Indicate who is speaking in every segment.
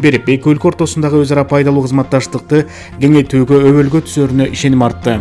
Speaker 1: берип, эки өлкө ортосундагы өз ара пайдалуу кызматташтыкты кеңейтүүгө өбөлгө түсөрүнө ишеним артты.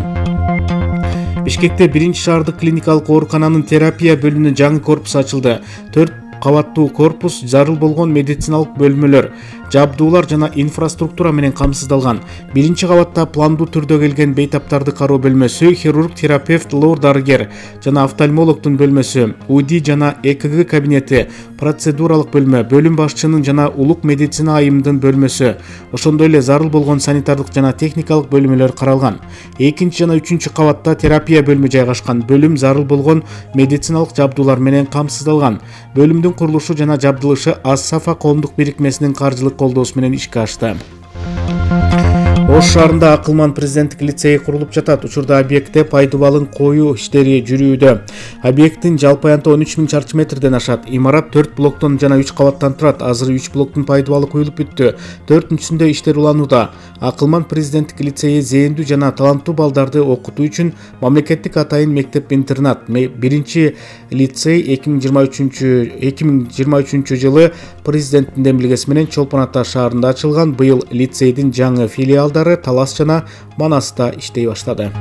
Speaker 1: Бишкекте 1-шаардык клиникалык оорукананын терапия бөлүмүнүн жаңы корпусу ачылды. 4 кабаттуу корпус, зарыл болгон медициналык бөлмөлөр, жабдуулар жана инфраструктура менен камсыздалган. 1-кабатта пландуу түрдө келген бейтаптарды кароо бөлмөсү, хирург, терапевт, лор дарыгер жана офтальмологдун бөлмөсү, УДИ жана ЭКГ кабинети, процедуралык бөлмө, бөлүм башчынын жана улук медицина айымдын бөлмөсү, ошондой эле зарыл болгон санитардык жана техникалык бөлмөлөр каралган. 2 жана 3 кабатта терапия бөлүмү жайгашкан. Бөлүм зарыл болгон медициналык жабдуулар менен камсыздалган. Бөлүмдүн курулушу жана жабдылышы Ас-Сафа коомдук бирикмесинин каржылык колдоосу менен ишке ашты. Ош шаарында Акылман президенттик лицейи курулуп жатат. Учурда объектте пайдубалын коюу иштери жүрүүдө. Объекттин жалпы аянты 13 000 чарчы метрден ашат. Имарат 4 блоктон жана 3 кабаттан турат. Азыр 3 блоктун пайдубалы куюлуп бүттү. 4-сүндө иштер уланууда. Акылман президенттик лицейи зээндүү жана таланттуу балдарды окутуу үчүн мамлекеттик атайын мектеп-интернат. 1 лицей 2023 жылы президенттин демилгеси менен Чолпон Ата шаарында ачылган. Быйыл лицейдин жаңы филиалдары Талас жана Манаста иштей баштады.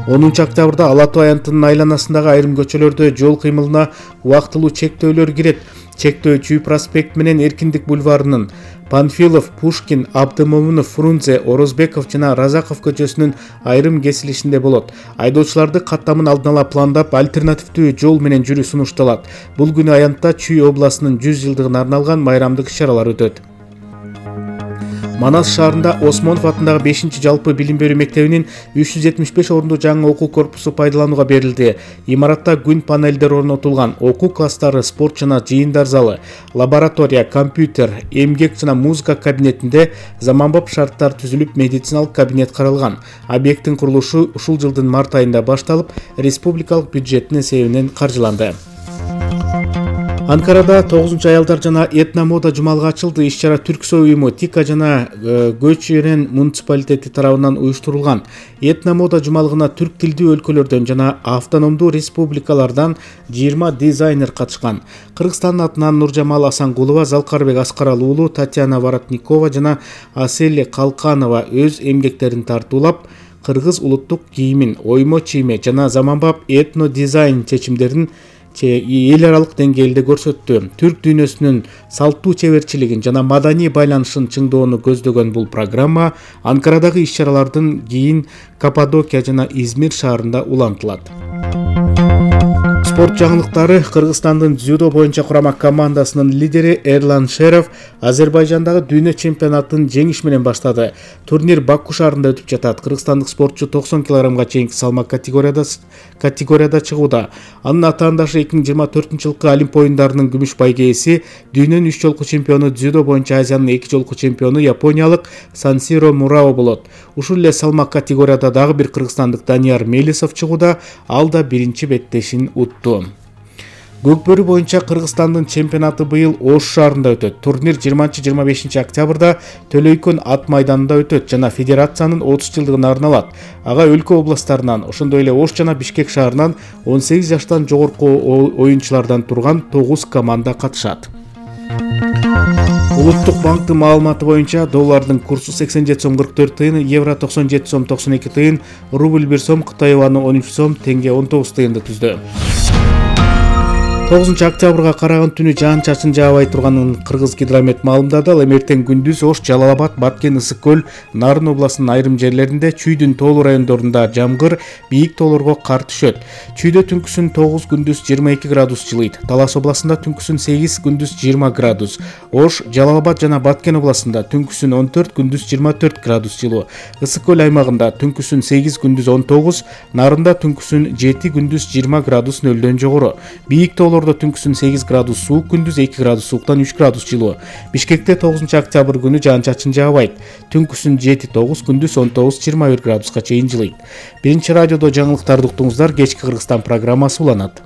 Speaker 1: 10 октябрда Ала Тоо аянтынын айланасындагы айрым көчөлөрдө жол кыймылына убактылуу чектөөлөр кирет. Чектөө Чүй проспект менен Эркиндик бульварынын, Панфилов, Пушкин, Абдымомунов, Фрунзе, Орозбеков жана Разаков көчөсүнүн айрым кесилишинде болот. Айдоочуларды каттамын алдын ала пландап, альтернативдүү жол менен жүрүү сунушталат. Бул күнү аянтта Чүй областынын 100 жылдыгына арналган майрамдык иш-чаралар өтөт. Манас шаарында Осмонов атындагы 5-жалпы билим берүү мектебинин 375 орундуу жаңы окуу корпусу пайдаланууга берилди. Имаратта күн панелдер орнотулган. Окуу класстары, спорт жана жыйындар залы, лаборатория, компьютер, эмгек жана музыка кабинетинде заманбап шарттар түзүлүп, медициналык кабинет каралган. Объекттин курулушу ушул жылдын март айында башталып, республикалык бюджеттин эсебинен каржыланды. Анкарада 9-аялдар жана этномода жумалыгы ачылды. Иш-чара Түрксой уюму, Тика жана Көчөрөн муниципалитети тарабынан уюштурулган. Этномода жумалыгына түрк тилдүү өлкөлөрдөн жана автономдуу республикалардан 20 дизайнер катышкан. Кыргызстандын атынан Нуржамал Асангулова, Залкарбек Аскарал уулу, Татьяна Воротникова жана Асель Калканова өз эмгектерин тартуулап, кыргыз улуттук кийимин, оймо чийме жана заманбап этно дизайн чечимдерин эл аралык деңгээлде көрсөттү. Түрк дүйнөсүнүн салттуу чеберчилигин жана маданий байланышын чыңдоону көздөгөн бул программа Анкарадагы иш-чаралардын кийин Каппадокия жана Измир шаарында улантылат. Спорт жаңылыктары. Кыргызстандын дзюдо боюнча курама командасынын лидери Эрлан Шеров Азербайжандагы дүйнө чемпионатын жеңиш менен баштады. Турнир Баку шаарында өтүп жатат. Кыргызстандык спортчу 90 кг чейинки салмак категорияда чыгууда. Анын атаандашы 2024 жылкы Олимп оюндарынын күмүш байгеси, дүйнөнүн 3 жолку чемпиону, дзюдо боюнча Азиянын 2 жолку чемпиону япониялык Сансиро Мурао болот. Ушул эле салмак категорияда дагы бир кыргызстандык Данияр Мелисов чыгууда. Ал да биринчи беттешин утту. Көкбөрү боюнча Кыргызстандын чемпионаты быйыл Ош шаарында өтөт. Турнир 20-25 октябрда Төлөйкөн ат майданында өтөт жана федерациянын 30 жылдыгына арналат. Ага өлкө областтарынан, ошондой эле Ош жана Бишкек шаарынан 18 жаштан жогорку оюнчулардан турган 9 команда катышат. Улуттук банктын маалыматы боюнча доллардын курсу 87 сом 44 тыйын, евро 97 сом 92 тыйын, рубль 1 сом, Кытай юаны 13 сом, теңге 19 тыйынды түздү. 9 октябрга караган түнү жаан-чачын жаабай турганын Кыргыз гидромет маалымдады. Ал эртең күндүз Ош, Жалал-Абад, Баткен, Ысык көл, Нарын областынын айрым жерлеринде, Чүйдүн тоолуу райондорунда жамгыр, бийик тоолорго кар түшөт. Чүйдө түнкүсүн 9, күндүз 22 градус жылыйт. Талас областында түнкүсүн 8, күндүз 20 градус. Ош, Жалал-Абад жана Баткен областында түнкүсүн 14, күндүз 24 градус жылуу. Ысык көл аймагында түнкүсүн 8, күндүз 19, Нарында түнкүсүн 7, күндүз 20 градус нөлдөн жогору. Бийик тоолордо түнкүсүн 8 градус суук, күндүз 2 градус сууктан 3 градус жылуу. Бишкекте 9 октябрь күнү жаан-чачын жаабайт. Түнкүсүн 7-9, күндүз 19-21 градуска чейин жылыйт. Биринчи радиодо жаңылыктарды уктуңуздар. Кечки Кыргызстан программасы уланат.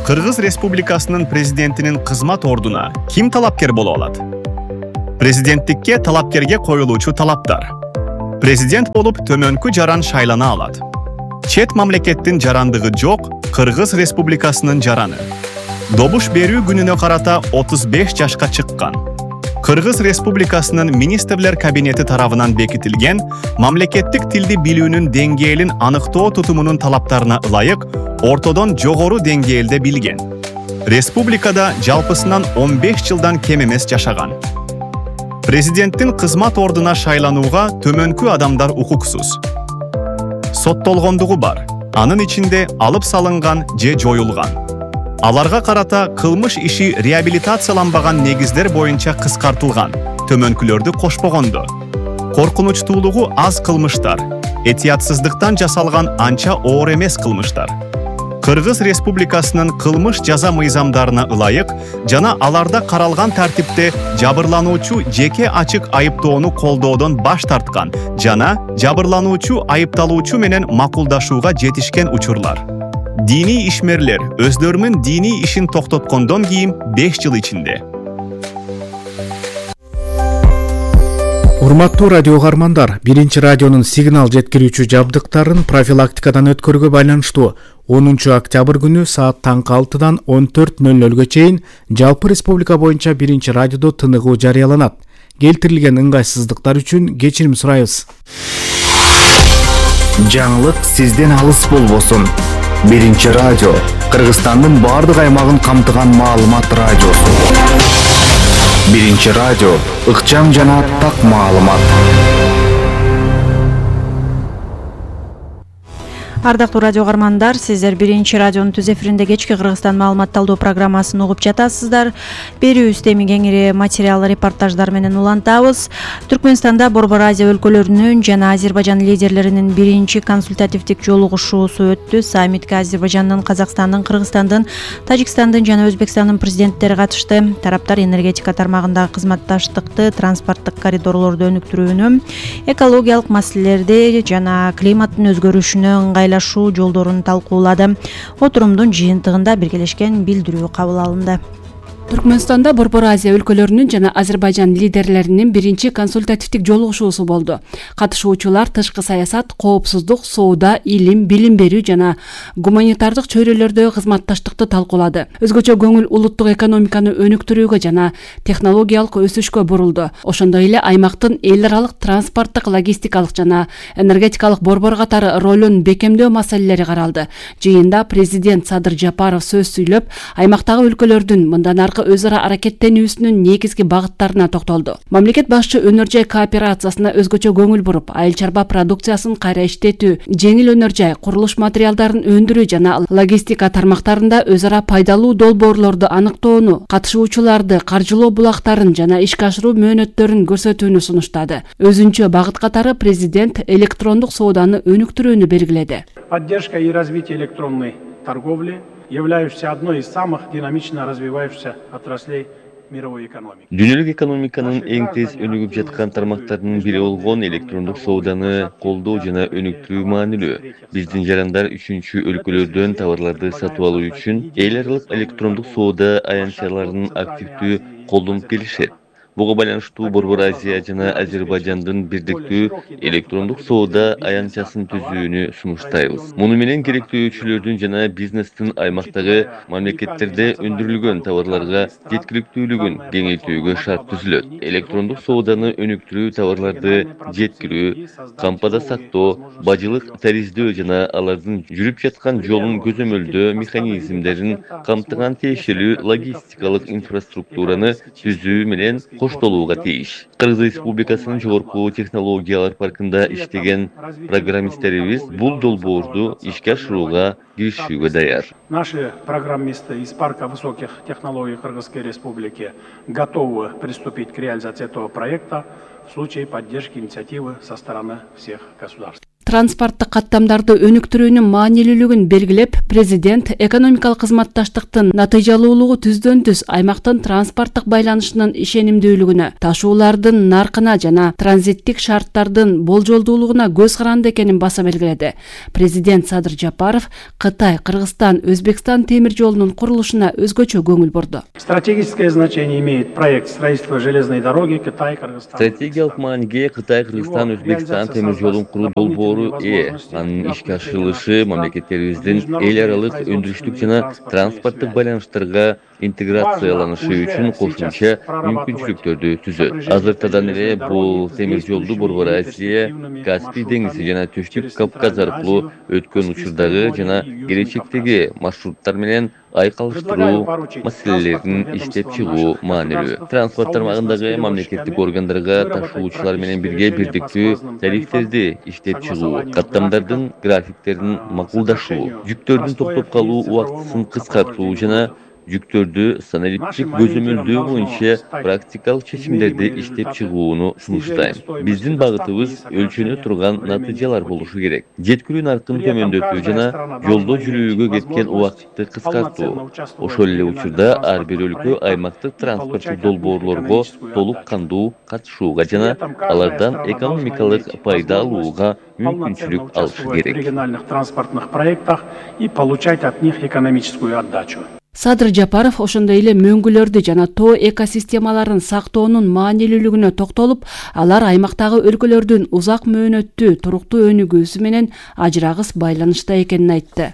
Speaker 2: Кыргыз Республикасынын президентинин кызмат ордуна ким талапкер боло алат? Президенттикке талапкерге коюлуучу талаптар. Президент болуп төмөнкү жаран шайлана алат. Чет мамлекеттин жарандыгы жок Кыргыз Республикасынын жараны. Добуш берүү күнүнө карата 35 жашка чыккан. Кыргыз Республикасынын министрлер кабинети тарабынан бекитилген мамлекеттик тилди билүүнүн деңгээлин аныктоо тутумунун талаптарына ылайык ортодон жогору деңгээлде билген. Республикада жалпысынан 15 жылдан кем эмес жашаган. Президенттин кызмат ордуна шайланууга төмөнкү адамдар укуксуз. Соттолгондугу бар. Анын ичинде алып салынган же жоюлган. Аларга карата кылмыш иши реабилитацияланбаган негиздер боюнча кыскартылган. Төмөнкүлөрдү кошпогондо. Коркунучтуулугу аз кылмыштар, этиятсыздыктан жасалган анча оор эмес кылмыштар. Кыргыз Республикасынын кылмыш жаза мыйзамдарына ылайык жана аларда каралган тартипте жабырлануучу жеке ачык айыптоону колдоодон баш тарткан жана жабырлануучу айыпталуучу менен макулдашууга жетишкен учурлар. Дини ишмерлер өздөрүнүн дини ишин токтоткондон кийин 5 жыл ичинде.
Speaker 1: Урматтуу радио каармандар, биринчи радионун сигнал жеткирүүчү жабдыктарын профилактикадан өткөрүүгө байланыштуу 10 октябрь күнү саат таңкы 6-дан 14:00 чейин жалпы республика боюнча биринчи радиодо тыныгуу жарыяланат. Келтирилген ыңгайсыздыктар үчүн кечирим сурайбыз.
Speaker 3: Жаңылык сизден алыс болбосун. Биринчи радио Кыргызстандын бардык аймагын камтыган маалымат радиосу. Биринчи радио ыкчам жана так маалымат.
Speaker 4: Ардактуу радио каармандар, сиздер биринчи радионун түз эфиринде кечки Кыргызстан маалымат талдоо программасын угуп жатасыздар. Берүүбүздө эми кеңири материал репортаждар менен улантабыз. Түркмөнстанда Борбор Азия өлкөлөрүнүн жана Азербайжан лидерлеринин биринчи консультативдик жолугушуусу өттү. Саммитке Азербайжандын, Казакстандын, Кыргызстандын, Тажикстандын жана Өзбекстандын президенттери катышты. Тараптар энергетика тармагындагы кызматташтыкты, транспорттук коридорлорду өнүктүрүүнү, экологиялык маселелерди жана климаттын өзгөрүшүнө ыңгайлашуу жолдорун талкуулады. Отурумдун жыйынтыгында биргелешкен билдирүү кабыл алынды.
Speaker 5: Түркмөнстанда Борбор Азия өлкөлөрүнүн жана Азербайжан лидерлеринин биринчи консультативдик жолугушуусу болду. Катышуучулар тышкы саясат, коопсуздук, соода, илим, билим берүү жана гуманитардык чөйрөлөрдө кызматташтыкты талкуулады. Өзгөчө көңүл улуттук экономиканы өнүктүрүүгө жана технологиялык өсүшкө бурулду. Ошондой эле аймактын эл аралык транспорттук, логистикалык жана энергетикалык борбор катары ролун бекемдөө маселелери каралды. Жыйында президент Садыр Жапаров сөз сүйлөп, аймактагы өлкөлөрдүн мындан аркы өз ара аракеттенүүсүнүн негизги багыттарына токтолду. Мамлекет башчы өнөр жай кооперациясына өзгөчө көңүл буруп, айыл чарба продукциясын кайра иштетүү, жеңил өнөр жай, курулуш материалдарын өндүрүү жана логистика тармактарында өз ара пайдалуу долбоорлорду аныктоону, катышуучуларды каржылоо булактарын жана ишке ашыруу мөөнөттөрүн көрсөтүүнү сунуштады. Өзүнчө багыт катары президент электрондук сооданы өнүктүрүүнү белгиледи.
Speaker 6: Поддержка и развитие электронной торговли, являющейся одной из самых динамично развивающихся отраслей мировой экономики.
Speaker 7: Дүйнөлүк экономиканын эң тез өнүгүп жаткан тармактарынын бири болгон электрондук сооданы колдоо жана өнүктүрүү маанилүү. Биздин жарандар үчүнчү өлкөлөрдөн товарларды сатып алуу үчүн эл аралык электрондук соода аянтчаларын активдүү колдонуп келишет. Буга байланыштуу Борбор Азия жана Азербайжандын бирдиктүү электрондук соода аянтчасын түзүүнү сунуштайбыз. Муну менен керектөөчүлөрдүн жана бизнестин аймактагы мамлекеттерде өндүрүлгөн товарларга жеткиликтүүлүгүн кеңейтүүгө шарт түзүлөт. Электрондук сооданы өнүктүрүү товарларды жеткирүү, кампада сактоо, бажылык тариздөө жана алардын жүрүп жаткан жолун көзөмөлдөө механизмдерин камтыган тиешелүү логистикалык инфраструктураны түзүү менен коштолууга тийиш. Кыргыз Республикасынын жогорку технологиялар паркында иштеген программисттерибиз бул долбоорду ишке ашырууга киришүүгө даяр.
Speaker 6: Наши программисты из парка высоких технологий Кыргызской Республики готовы приступить к реализации этого проекта в случае поддержки инициативы со стороны всех государств.
Speaker 5: транспорттук каттамдарды өнүктүрүүнүн маанилүүлүгүн белгилеп, президент экономикалык кызматташтыктын натыйжалуулугу түздөн түз аймактын транспорттук байланышынын ишенимдүүлүгүнө, ташуулардын наркына жана транзиттик шарттардын болжолдуулугуна көз каранды экенин баса белгиледи. Президент Садыр Жапаров Кытай, Кыргызстан, Өзбекстан темир жолунун курулушуна өзгөчө көңүл бурду.
Speaker 6: Стратегическое значение имеет проект строительства железной дороги Кытай, Кыргызстан.
Speaker 7: Стратегиялык мааниге Кытай, Кыргызстан, Өзбекстан темир жолун куруу долбоору Анын ишке ашырылышы мамлекеттерибиздин эл аралык өндүрүштүк жана транспорттук байланыштарга интеграцияланышы үчүн кошумча мүмкүнчүлүктөрдү түзөт. Азыртадан эле бул темир жолду Борбор Азия, Каспий деңизи жана Түштүк Кавказ аркылуу өткөн учурдагы жана келечектеги маршруттар менен айкалыштыруу маселелерин иштеп чыгуу маанилүү. Транспорт тармагындагы мамлекеттик органдарга ташуучулар менен бирге бирдиктүү тарифтерди иштеп чыгуу, каттамдардын графиктерин макулдашуу, жүктөрдүн токтоп калуу убактысын кыскартуу жана жүктөрдү санариптик көзөмөлдөө боюнча практикалык чечимдерди иштеп чыгууну сунуштайм. Биздин багытыбыз өлчөнө турган натыйжалар болушу керек. Жеткирүү наркын төмөндөтүү жана жолдо жүрүүгө кеткен убакытты кыскартуу. Ошол эле учурда ар бир өлкө аймактык транспорттук долбоорлорго толук кандуу катышууга жана алардан экономикалык пайда алууга мүмкүнчүлүк алышы керек.
Speaker 6: В региональных транспортных проектах и получать от них экономическую отдачу.
Speaker 5: Садыр Жапаров ошондой эле мөңгүлөрдү жана тоо экосистемаларын сактоонун маанилүүлүгүнө токтолуп, алар аймактагы өлкөлөрдүн узак мөөнөттүү туруктуу өнүгүүсү менен ажырагыс байланышта экенин айтты.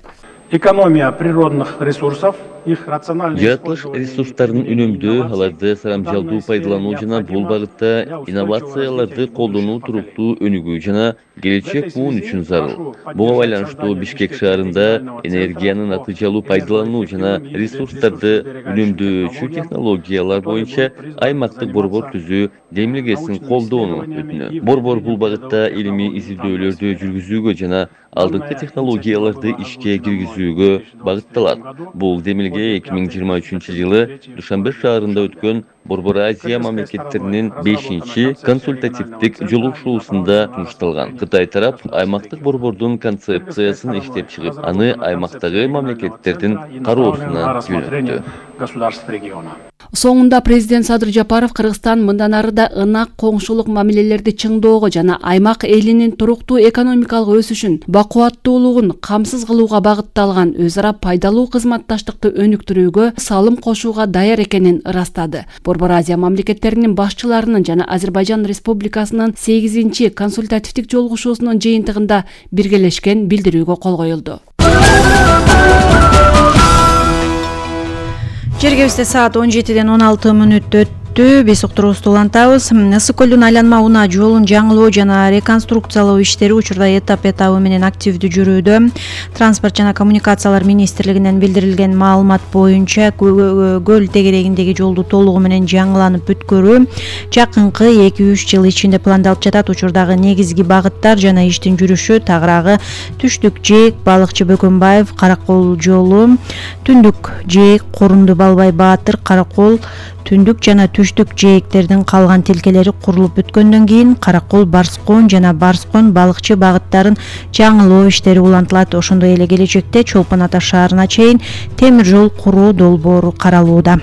Speaker 6: Экономия природных ресурсов, их рациональный...
Speaker 7: Жаратылыш ресурстарын үнөмдөө, аларды сарамжалдуу пайдалануу жана бул багытта инновацияларды колдонуу туруктуу өнүгүү жана келечек буун үчүн зарыл. Буга байланыштуу Бишкек шаарында энергияны натыйжалуу пайдалануу жана ресурстарды үнөмдөөчү технологиялар боюнча аймактык борбор түзүү демилгесин колдоону өтүнөт. Борбор бул багытта илимий изилдөөлөрдү жүргүзүүгө жана алдыңкы технологияларды ишке киргизүүгө багытталат. Бул демилге 2023-жылы Душанбе шаарында өткөн Борбор Азия мамлекеттеринин 5-чи консультативдик жолугушуусунда сунушталган. Кытай тарап аймактык борбордун концепциясын иштеп чыгып, аны аймактагы мамлекеттердин кароосуна жөнөттү.
Speaker 5: Соңунда президент Садыр Жапаров Кыргызстан мындан ары да ынак коңшулук мамилелерди чыңдоого жана аймак элинин туруктуу экономикалык өсүшүн, бакубаттуулугун камсыз кылууга багытталган өз ара пайдалуу кызматташтыкты өнүктүрүүгө салым кошууга даяр экенин ырастады. Борбор Азия мамлекеттеринин башчыларынын жана Азербайжан Республикасынын 8-чи консультативдик жолугушуусунун жыйынтыгында биргелешкен билдирүүгө кол коюлду.
Speaker 4: Жергебизде саат 17:16 биз уктуруубузду улантабыз. Ысык көлдүн айланма унаа жолун жаңылоо жана реконструкциялоо иштери учурда этап менен активдүү жүрүүдө. Транспорт жана коммуникациялар министрлигинен билдирилген маалымат боюнча көл тегерегиндеги жолду толугу менен жаңыланып бүткөрүү жакынкы 2-3 жыл ичинде пландалып жатат. Учурдагы негизги багыттар жана иштин жүрүшү Тагыраагы Түштүк Жээк, Балыкчы Бөкөнбаев, Каракол жолу, Түндүк Жээк, Корунду Балбай Баатыр, Каракол, Түндүк жана Түштүк жээктердин калган тилкелери курулуп бүткөндөн кийин Каракол Барскон жана Барскон Балыкчы багыттарын жаңылоо иштери улантылат. Ошондой эле келечекте Чолпон Ата шаарына чейин темир жол куруу долбоору каралууда.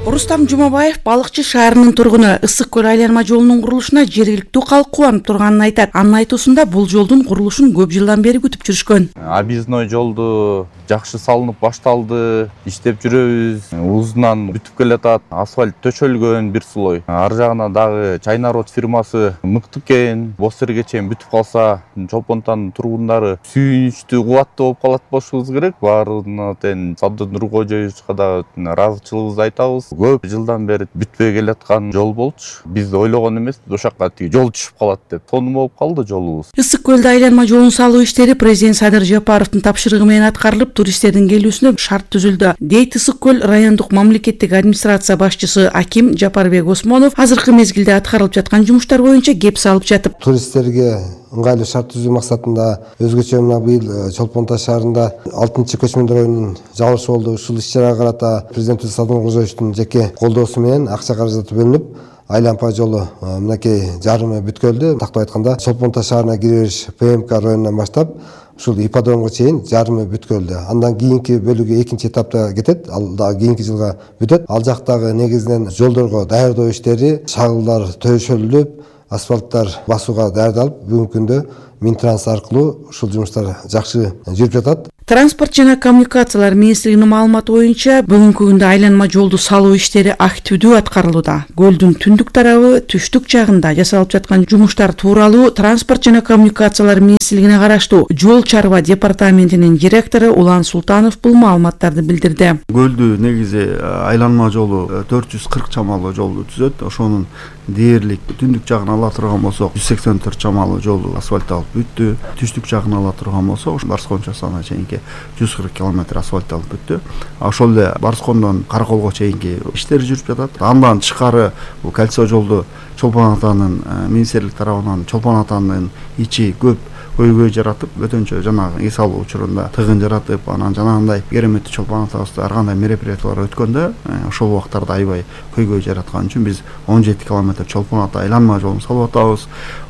Speaker 8: Рустам Жумабаев Балыкчы шаарынын тургуну. Ысык көл айланма жолунун курулушуна жергиликтүү калк кубанып турганын айтат. Анын айтуусунда бул жолдун курулушун көп жылдан бери күтүп жүрүшкөн.
Speaker 9: Объездной жолду жакшы салынып башталды, иштеп жүрөбүз. Узунан бүтүп келатат, асфальт төшөлгөн бир слой. Ар жагына дагы Чайнарод фирмасы мыкты экен. Бостерге чейин бүтүп калса, Чолпон Атанын тургундары сүйүнүчтүү, кубаттуу болуп калат болушубуз керек. Баарына тең Сабды Нуркожоевичке да ыраазычылыгыбызды айтабыз. Көп жылдан бери бүтпөй келаткан жол болчу. Биз ойлогон эмес, ошакка тиги жол түшүп калат деп. Сонун болуп калды жолубуз.
Speaker 8: Ысык көлдө айланма жолун салуу иштери президент Садыр Жапаровдун тапшырыгы менен аткарылып, туристтердин келүүсүнө шарт түзүлдү, дейт Ысык көл райондук мамлекеттик администрация башчысы Аким Жапарбек Осмонов. Азыркы мезгилде аткарылып жаткан жумуштар боюнча кеп салып жатып,
Speaker 10: туристтерге ыңгайлуу шарт түзүү максатында өзгөчө мына быйыл Чолпон Ата шаарында 6-чы көчмөндөр оюнунун жабылышы болду. Ушул иш-чарага карата президентибиз Садыр Нуркожоевичтин жеке колдоосу менен акча каражаты бөлүнүп, айланма жолу мынакей жарымы бүткөлдү. Тактап айтканда Чолпон Ата шаарына кире бериш ПМК районунан баштап ушул ипподромго чейин жарымы бүткөлдү. Андан кийинки бөлүгү экинчи этапта кетет. Ал дагы кийинки жылга бүтөт. Ал жактагы негизинен жолдорго даярдоо иштери, шагылдар төшөлүп, асфальттар басууга даярдалып, бүгүнкү күндө Минтранс аркылуу ушул жумуштар жакшы жүрүп жатат.
Speaker 8: Транспорт жана коммуникациялар министрлигинин маалыматы боюнча бүгүнкү күндө айланма жолду салуу иштери активдүү аткарылууда. Көлдүн түндүк тарабы, түштүк жагында жасалып жаткан жумуштар тууралуу Транспорт жана коммуникациялар министрлигине караштуу Жол чарба департаментинин директору Улан Султанов бул маалыматтарды билдирди.
Speaker 11: Көлдү негизи айланма жолу 440 чамалуу жолду түзөт. Ошонун дээрлик түндүк жагын ала турган болсок 184 чамалуу жолду асфальтталып бүттү. Түштүк жагын ала турган болсок Барскон часына чейинки 140 км асфальтталып бүттү. Ошол эле Барскондон Караколго чейинки иштер жүрүп жатат. Андан тышкары бул кольцо жолду Чолпон Атанын министрлик тарабынан Чолпон Атанын ичи көп көйгөй жаратып, өтөнчө жанагы эс алуу учурунда тыгын жаратып, анан жанагындай кереметтүү Чолпон Атабызда ар кандай мероприятиялар өткөндө, ошол убактарда аябай көйгөй жараткан үчүн биз 17 км Чолпон Ата айланма жолун салып атабыз.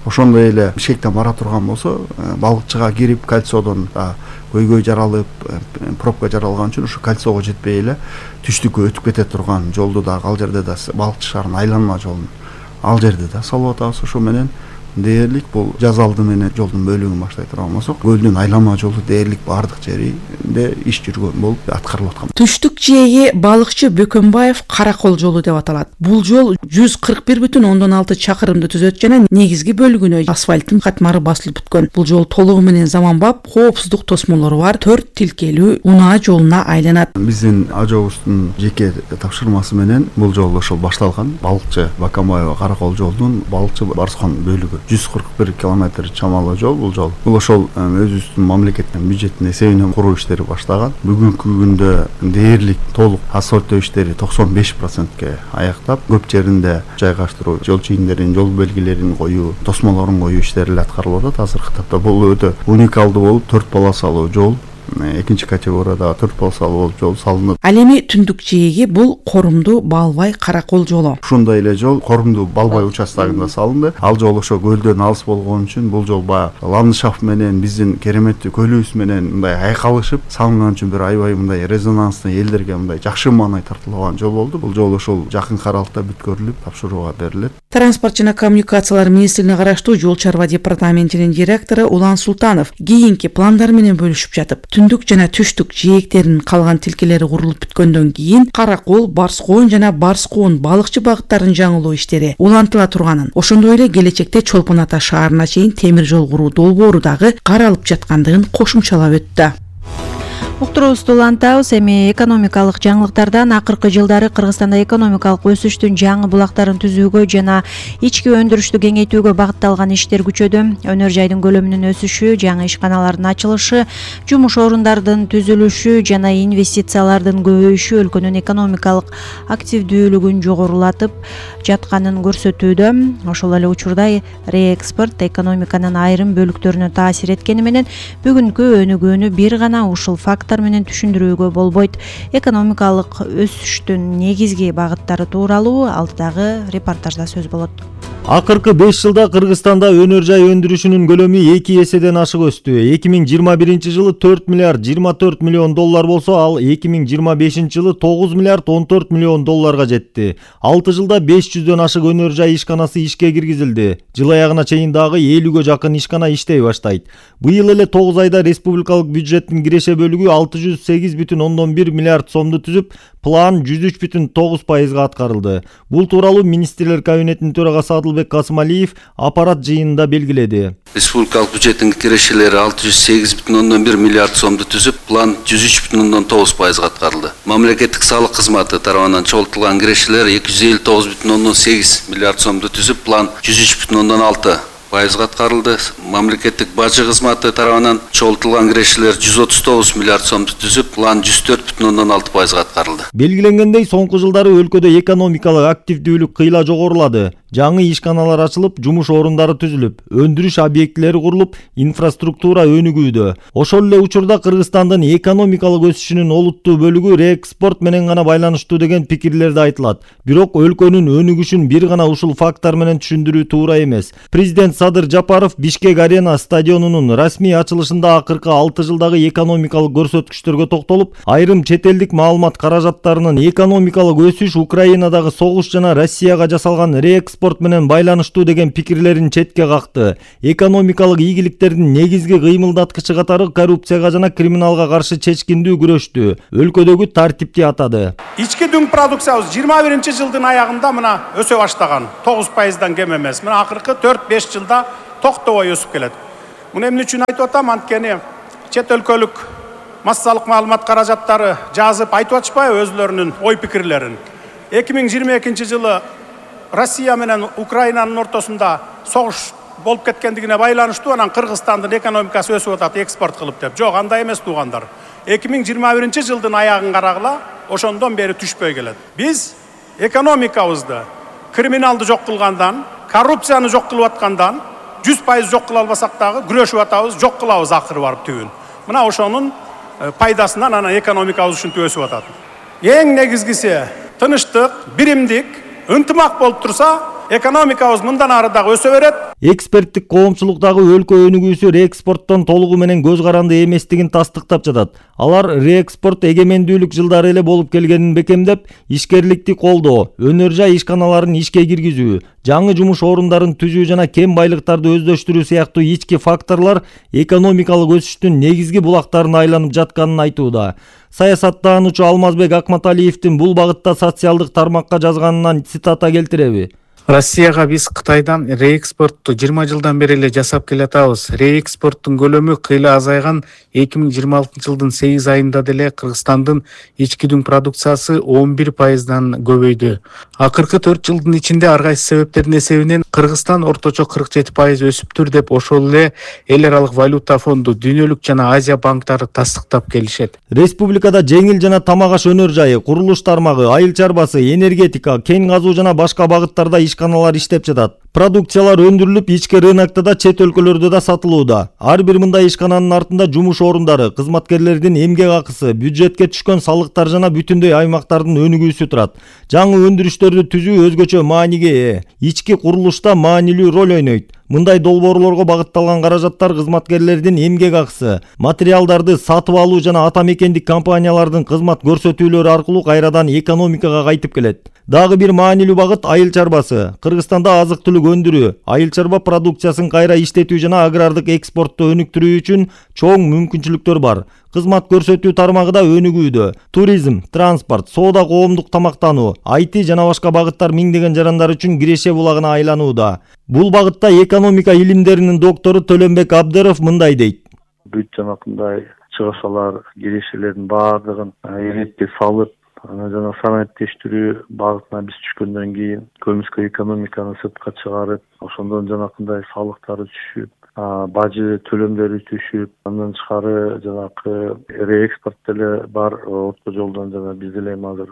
Speaker 11: Ошондой эле Бишкектен бара турган болсо, балыкчыга кирип кольцодон көйгөй жаралып, пробка жаралган үчүн ушу кольцого жетпей эле түштүккө өтүп кете турган жолду да ал жерде да балыкчы шаарынын айланма жолун ал жерде да салып атабыз. Ошо менен дээрлик бул жаз алды менен жолдун бөлүгүн баштай турган болсок, көлдүн айланма жолу дээрлик баардык жеринде иш жүргөн болуп аткарылып аткан.
Speaker 8: Түштүк жээги балыкчы Бөкөнбаев Каракол жолу деп аталат. Бул жол 141,6 чакырымды түзөт жана негизги бөлүгүнө асфальттын катмары басылып бүткөн. Бул жол толугу менен заманбап, коопсуздук тосмолору бар 4 тилкелүү унаа жолуна айланат.
Speaker 11: Биздин АЖОбуздун жеке тапшырмасы менен бул жол ошол башталган. Балыкчы Бакамбаева Каракол жолунун балыкчы Барскон бөлүгү 141 км чамалуу жол бул жол. Бул ошол өзүбүздүн мамлекеттин бюджетинин эсебинен куруу иштери баштаган. Бүгүнкү күндө дээрлик толук асфальттоо иштери 95%ке аяктап, көп жеринде жайгаштыруу, жол чийиндерин, жол белгилерин коюу, тосмолорун коюу иштери аткарылып атат. Азыркы тапта бул өтө уникалдуу болуп, 4 полосалуу жол, экинчи категорияда 4 полосалуу жол салынып.
Speaker 8: Ал эми түндүк жээги бул Корумду Балбай Каракол жолу.
Speaker 11: Ушундай эле жол Корумду Балбай участогунда салынды. Ал жол ошо көлдөн алыс болгон үчүн бул жол баягы ландшафт менен биздин кереметтүү көлүбүз менен мындай айкалышып салынган үчүн бир аябай мындай резонанстуу, элдерге мындай жакшы маанай тартылган жол болду. Бул жол ошол жакын аралыкта бүткөрүлүп тапшырууга берилет.
Speaker 8: Транспорт жана коммуникациялар министрлигине караштуу Жол чарба департаментинин директору Улан Султанов кийинки пландар менен бөлүшүп жатып, түндүк жана түштүк жээктеринин калган тилкелери курулуп бүткөндөн кийин Каракол, Барскон жана Барскон балыкчы багыттарын жаңылоо иштери улантыла турганын, ошондой эле келечекте Чолпон Ата шаарына чейин темир жол куруу долбоору дагы каралып жаткандыгын кошумчалап өттү.
Speaker 4: Уктуруубузду улантабыз. Эми экономикалык жаңылыктардан акыркы жылдары Кыргызстанда экономикалык өсүштүн жаңы булактарын түзүүгө жана ички өндүрүштү кеңейтүүгө багытталган иштер күчөдү. Өнөр жайдын көлөмүнүн өсүшү, жаңы ишканалардын ачылышы, жумуш орундардын түзүлүшү жана инвестициялардын көбөйүшү өлкөнүн экономикалык активдүүлүгүн жогорулатып жатканын көрсөтүүдө. Ошол эле учурда реэкспорт экономиканын айрым бөлүктөрүнө таасир эткени менен бүгүнкү өнүгүүнү бир гана ушул фактор менен түшүндүрүүгө болбойт. Экономикалык өсүштүн негизги багыттары тууралуу алдыдагы репортажда сөз болот.
Speaker 12: Акыркы 5 жылда Кыргызстанда өнөр жай өндүрүшүнүн көлөмү 2 эседен ашык өстү. 2021 жылы 4 миллиард 24 миллион доллар болсо, ал 2025 жылы 9 миллиард 14 миллион долларга жетти. 6 жылда 500дөн ашык өнөр жай ишканасы ишке киргизилди. Жыл аягына чейин дагы 50гө жакын ишкана иштей баштайт. Быйыл эле 9 айда республикалык бюджеттин киреше бөлүгү 608,1 миллиард сомду түзүп, план 103,9% аткарылды. Бул тууралуу министрлер кабинетинин төрагасы Адылбек Касымалиев аппарат жыйынында белгиледи.
Speaker 13: Республикалык бюджеттин кирешелери 608,1 миллиард сомду түзүп, план 103,9% аткарылды. Мамлекеттик салык кызматы тарабынан чогултулган кирешелер 259,8 миллиард сомду түзүп, план 103,6% аткарылды. Мамлекеттик бажы кызматы тарабынан чогултулган кирешелер 139 миллиард сомду түзүп, план 104,6% аткарылды.
Speaker 12: Белгиленгендей, соңку жылдары өлкөдө экономикалык активдүүлүк кыйла жогорулады. Жаңы ишканалар ачылып, жумуш орундары түзүлүп, өндүрүш объектилери курулуп, инфраструктура өнүгүүдө. Ошол эле учурда Кыргызстандын экономикалык өсүшүнүн олуттуу бөлүгү реэкспорт менен гана байланыштуу деген пикирлер да айтылат. Бирок өлкөнүн өнүгүшүн бир гана ушул фактор менен түшүндүрүү туура эмес. Президент Садыр Жапаров Бишкек Арена стадионунун расмий ачылышында акыркы 6 жылдагы экономикалык көрсөткүчтөргө токтолуп, айрым чет элдик маалымат каражаттарынын экономикалык өсүш Украинадагы согуш жана Россияга жасалган реэкспорт менен байланыштуу деген пикирлерин четке какты. Экономикалык ийгиликтердин негизги кыймылдаткычы катары коррупцияга жана криминалга каршы чечкиндүү күрөштү, өлкөдөгү тартипти атады.
Speaker 6: Ички дүң продукциябыз 21-жылдын аягында мына өсө баштаган. 9%дан кем эмес. Мына акыркы 4-5 жылда токтобой өсүп келет. Муну эмне үчүн айтып атам? Анткени чет өлкөлүк массалык маалымат каражаттары жазып айтып атышпайбы өзлөрүнүн ой пикирлерин. 2022 жылы Россия менен Украинанын ортосунда согуш болуп кеткендигине байланыштуу анан Кыргызстандын экономикасы өсүп атат экспорт кылып деп. Жок, андай эмес туугандар. 2021 жылдын аягын карагыла, ошондон бери түшпөй келет. Биз экономикабызды криминалды жок кылгандан, коррупцияны жок кылып аткандан 100% жок кыла албасак дагы күрөшүп атабыз, жок кылабыз акыры барып түбүн. Мына ошонун пайдасынан анан экономикабыз ушинтип өсүп атат. Эң негизгиси тынычтык, биримдик, ынтымак болуп турса, экономикабыз мындан ары дагы өсө берет.
Speaker 12: Эксперттик коомчулуктагы өлкө өнүгүүсү реэкспорттон толугу менен көз каранды эместигин тастыктап жатат. Алар реэкспорт эгемендүүлүк жылдары эле болуп келгенин бекемдеп, ишкерликти колдоо, өнөр жай ишканаларын ишке киргизүү, жаңы жумуш орундарын түзүү жана кем байлыктарды өздөштүрүү сыяктуу ички факторлор экономикалык өсүштүн негизги булактарына айланып жатканын айтууда. Саясаттаануучу Алмазбек Акматалиевдин бул багытта социалдык тармакка жазганынан цитата келтиреби?
Speaker 1: Россияга биз Кытайдан реэкспортту 20 жылдан бери эле жасап келатабыз. Реэкспорттун көлөмү кыйла азайган 2026 жылдын 8 айында деле Кыргызстандын ички дүң продукциясы 11%дан көбөйдү. Акыркы 4 жылдын ичинде ар кайсы себептердин эсебинен Кыргызстан орточо 47% өсүптүр деп ошол эле эл аралык валюта фонду, дүйнөлүк жана Азия банктары тастыктап келишет.
Speaker 12: Республикада жеңил жана тамак аш өнөр жайы, курулуш тармагы, айыл чарбасы, энергетика, кен казуу жана башка багыттарда ишканалар иштеп жатат. Продукциялар өндүрүлүп, ички рынокто да, чет өлкөлөрдө да сатылууда. Ар бир мындай ишкананын артында жумуш орундары, кызматкерлердин эмгек акысы, бюджетке түшкөн салыктар жана бүтүндөй аймактардын өнүгүүсү турат. Жаңы өндүрүштөрдү түзүү өзгөчө мааниге ээ. Ички курулушта маанилүү роль ойнойт. Мындай долбоорлорго багытталган каражаттар кызматкерлердин эмгек акысы, материалдарды сатып алуу жана ата мекендик компаниялардын кызмат көрсөтүүлөрү аркылуу кайрадан экономикага кайтып келет. Дагы бир маанилүү багыт айыл чарбасы. Кыргызстанда азык-түлүк өндүрүү, айыл чарба продукциясын кайра иштетүү жана агрардык экспортту өнүктүрүү үчүн чоң мүмкүнчүлүктөр бар. Кызмат көрсөтүү тармагы да өнүгүүдө. Туризм, транспорт, соода, коомдук тамактануу, IT жана башка багыттар миңдеген жарандар үчүн киреше булагына айланууда. Бул багытта экономика илимдеринин доктору Төлөнбек Абдыров мындай дейт.
Speaker 14: Бүт жанакындай чыгышалар, кирешелердин баардыгын эретке салып, жана санааттештирүү багытына биз түшкөндөн кийин көмүскө экономиканы сыртка чыгарып, ошондон жанакындай салыктары түшүп, бажы төлөмдөрү түшүп, андан тышкары жанакы реэкспорт деле бар орто жолдон жана биз деле азыр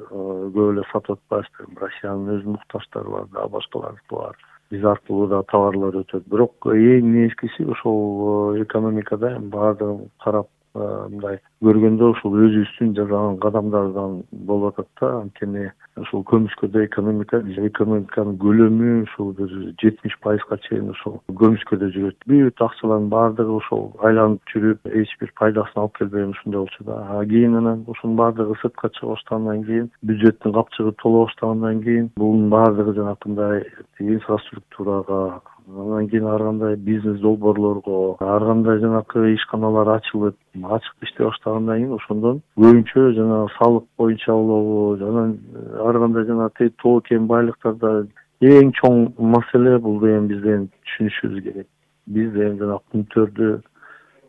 Speaker 14: көп эле сатып атпайбызбы. Россиянын өз муктаждары бар, дагы башкалары бар. Биз аркылуу да товарлар өтөт. Бирок эң негизгиси ошол экономикада баардыгын карап мындай көргөндө ушул өзүбүздүн жасаган кадамдардан болуп атат да. Анткени ушул көмүскөдө экономиканын көлөмү ушул бир 70%га чейин ошол көмүскөдө жүрөт. Бүт акчалардын баардыгы ошол айланып жүрүп, эч бир пайдасын алып келбеген ушундай болчу да. Кийин анан ошонун баардыгы сыртка чыга баштагандан кийин, бюджеттин капчыгы толо баштагандан кийин, бунун баардыгы жанакындай инфраструктурага, андан кийин ар кандай бизнес долбоорлорго, ар кандай жанакы ишканалар ачылып, ачык иштей баштагандан кийин ошондон көбүнчө жана салык боюнча болобу, жана ар кандай жана тоо кен байлыктарда эң чоң маселе бул эми бизден түшүнүшүбүз керек. Биз эми жана кумтөрдү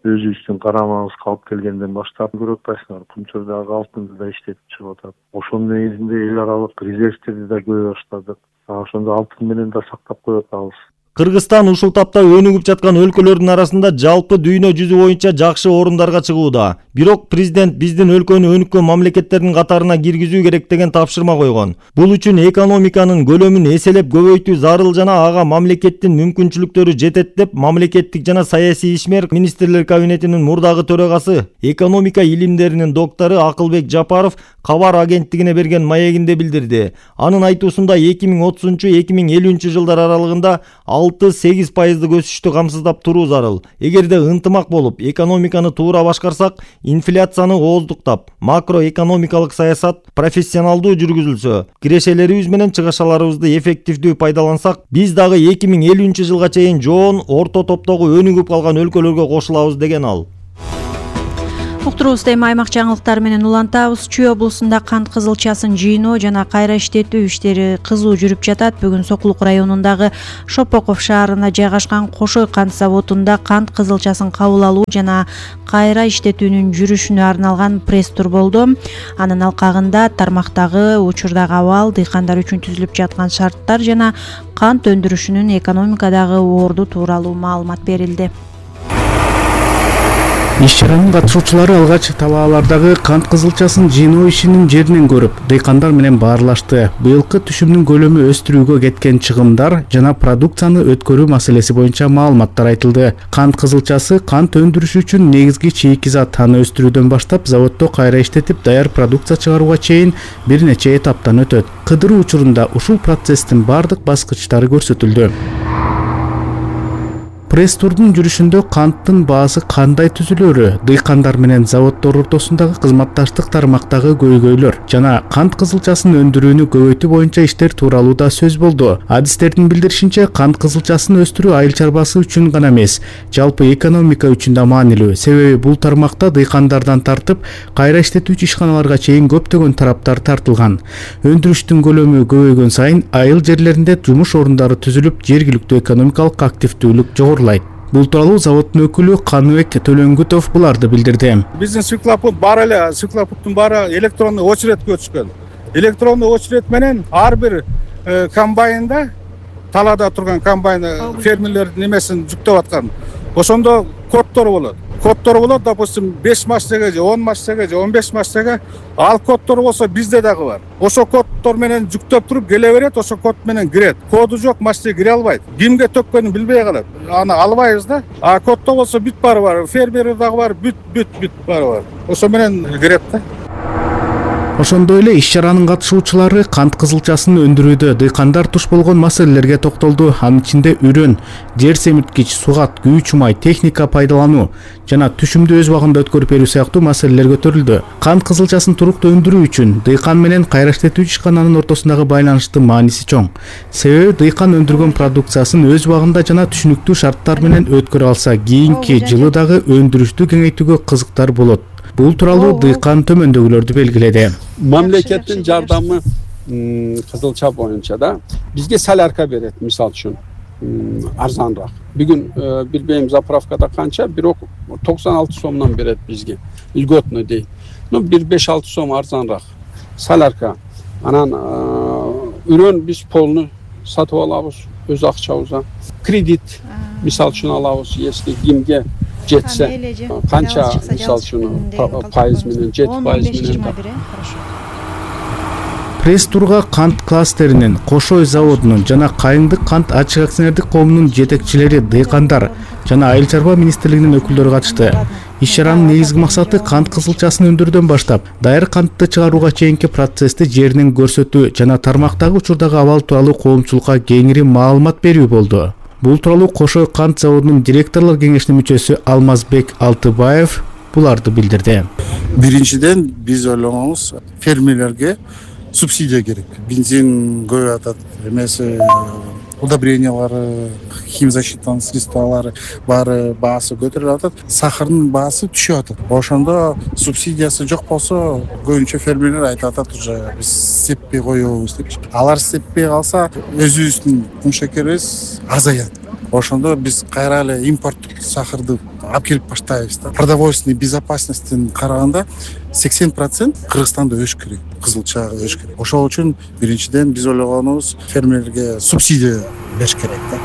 Speaker 14: өзүбүздүн карамагыбызга алып келгенден баштап көрүп атпайсыңар, кумтөрдөгү алтынды да иштетип чыгып атат. Ошонун негизинде эл аралык резервтерди да көбөй баштадык. Ошондо алтын менен да сактап коюп атабыз.
Speaker 12: Кыргызстан ушул тапта өнүгүп жаткан өлкөлөрдүн арасында жалпы дүйнө жүзү боюнча жакшы орундарга чыгууда. Бирок президент биздин өлкөнү өнүккөн мамлекеттердин катарына киргизүү керек деген тапшырма койгон. Бул үчүн экономиканын көлөмүн эселеп көбөйтүү зарыл жана ага мамлекеттин мүмкүнчүлүктөрү жетет деп мамлекеттик жана саясий ишмер министрлер кабинетинин мурдагы төрагасы, экономика илимдеринин доктору Акылбек Жапаров кабар агенттигине берген маегинде билдирди. Анын айтуусунда 2030-2050 жылдар аралыгында 6-8% өсүштү камсыздап туруу зарыл. Эгерде ынтымак болуп, экономиканы туура башкарсак, инфляцияны ооздуктап, макроэкономикалык саясат профессионалдуу жүргүзүлсө, кирешелерибиз менен чыгашаларыбызды эффективдүү пайдалансак, биз дагы 2050 жылга чейин жоон орто топтогу өнүгүп калган өлкөлөргө кошулабыз деген ал.
Speaker 4: Уктуруубузду эми аймак жаңылыктары менен улантабыз. Чүй облусунда кант кызылчасын жыйноо жана кайра иштетүү иштери кызуу жүрүп жатат. Бүгүн Сокулук районундагы Шопоков шаарына жайгашкан Кошой кант заводунда кант кызылчасын кабыл алуу жана кайра иштетүүнүн жүрүшүнө арналган пресс-тур болду. Анын алкагында тармактагы учурдагы абал, дыйкандар үчүн түзүлүп жаткан шарттар жана кант өндүрүшүнүн экономикадагы орду тууралуу маалымат берилди.
Speaker 1: Иш-чаранын катышуучулары алгач талаалардагы кант кызылчасын жыйноо ишинин жеринен көрүп, дыйкандар менен баарлашты. Быйылкы түшүмдүн көлөмү өстүрүүгө кеткен чыгымдар жана продукцияны өткөрүү маселеси боюнча маалыматтар айтылды. Кант кызылчасы кант өндүрүшү үчүн негизги чийкизат аны өстүрүүдөн баштап заводдо кайра иштетип даяр продукция чыгарууга чейин бир нече этаптан өтөт. Кыдыруу учурунда ушул процесстин бардык баскычтары көрсөтүлдү. Пресс-турдун жүрүшүндө канттын баасы кандай түзүлөрү, дыйкандар менен заводдор ортосундагы кызматташтык тармактагы көйгөйлөр жана кант кызылчасын өндүрүүнү көбөйтүү боюнча иштер тууралуу да сөз болду. Адистердин билдиришинче, кант кызылчасын өстүрүү айыл чарбасы үчүн гана эмес, жалпы экономика үчүн да маанилүү. Себеби бул тармакта дыйкандардан тартып, кайра иштетүүчү ишканаларга чейин көптөгөн тараптар тартылган. Өндүрүштүн көлөмү көбөйгөн сайын айыл жерлеринде жумуш орундары түзүлүп, жергиликтүү экономикалык активдүүлүк жогорулайт. Бул тууралуу заводдун өкүлү Каныбек Төлөнгүтов буларды билдирди.
Speaker 6: Биздин циклопут бар эле, циклопуттун баары электрондук очередке өтүшкөн. Электрондук очеред менен ар бир комбайнда, талаада турган комбайн фермерлердин немесин жүктөп аткан. Ошондо коддор болот. Коддор болот, допустим, 5 массага же 10 массага же 15 массага. Ал коддор болсо бизде дагы бар. Ошо коддор менен жүктөп туруп келе берет, ошо код менен кирет. Коду жок массага кире албайт. Кимге төккөнүн билбей калат. Аны албайбыз да. А коддо болсо бүт баары бар. Фермер дагы бар, бүт баары бар. Ошо менен кирет да.
Speaker 1: Ошондой эле иш-чаранын катышуучулары кант кызылчасын өндүрүүдө дыйкандар туш болгон маселелерге токтолду. Анын ичинде үрөн, жер семирткич, сугат, күйүүчү май, техника пайдалануу жана түшүмдү өз убагында өткөрүп берүү сыяктуу маселелер көтөрүлдү. Кант кызылчасын туруктуу өндүрүү үчүн дыйкан менен кайра иштетүүчү ишкананын ортосундагы байланыштын мааниси чоң. Себеби дыйкан өндүргөн продукциясын өз убагында жана түшүнүктүү шарттар менен өткөрө алса, кийинки жылы дагы өндүрүштү кеңейтүүгө кызыктар болот. Бул тууралуу дыйкан төмөндөгүлөрдү белгиледи.
Speaker 15: Мамлекеттин жардамы кызылча боюнча да бизге солярка берет, мисалы үчүн арзаныраак. Бүгүн билбейм заправкада канча, бирок 96 сомдон берет бизге. Льготно дейт. Ну 1-5-6 сом арзаныраак. Солярка. Анан үрөн биз полну сатып алабыз өз акчабызга. Кредит мисалы үчүн алабыз, если кимге жетсе, канча мисалы үчүн пайыз менен, 7% менен.
Speaker 1: Пресс-турга кант кластеринин, Кошой заводунун жана Кайыңдык кант ачык акционердик коомунун жетекчилери, дыйкандар жана айыл чарба министрлигинин өкүлдөрү катышты. Иш-чаранын негизги максаты кант кызылчасын өндүрүүдөн баштап, даяр кантты чыгарууга чейинки процессти жеринен көрсөтүү жана тармактагы учурдагы абал тууралуу коомчулукка кеңири маалымат берүү болду. Бул тууралуу Кошой кант заводунун директорлор кеңешинин мүчөсү Алмазбек Алтыбаев буларды билдирди.
Speaker 16: Биринчиден биз ойлогонубуз фермерлерге субсидия керек. Бензин көбөйүп атат, эмес удобрениялары, химзащитный средстволары баары баасы көтөрүлүп атат. Сахардын баасы түшүп атат. Ошондо субсидиясы жок болсо, көбүнчө фермерлер айтып атат, уже биз сеппей коебуз деп. Алар сеппей калса, өзүбүздүн кумшекерибиз азаят. Ошондо биз кайра эле импорттук сахарды алып келип баштайбыз да. Продовольственный безопасностьтен караганда 80% Кыргызстанда өш керек, кызылчага өш керек. Ошол үчүн биринчиден биз ойлогонубуз фермерлерге субсидия бериш керек да.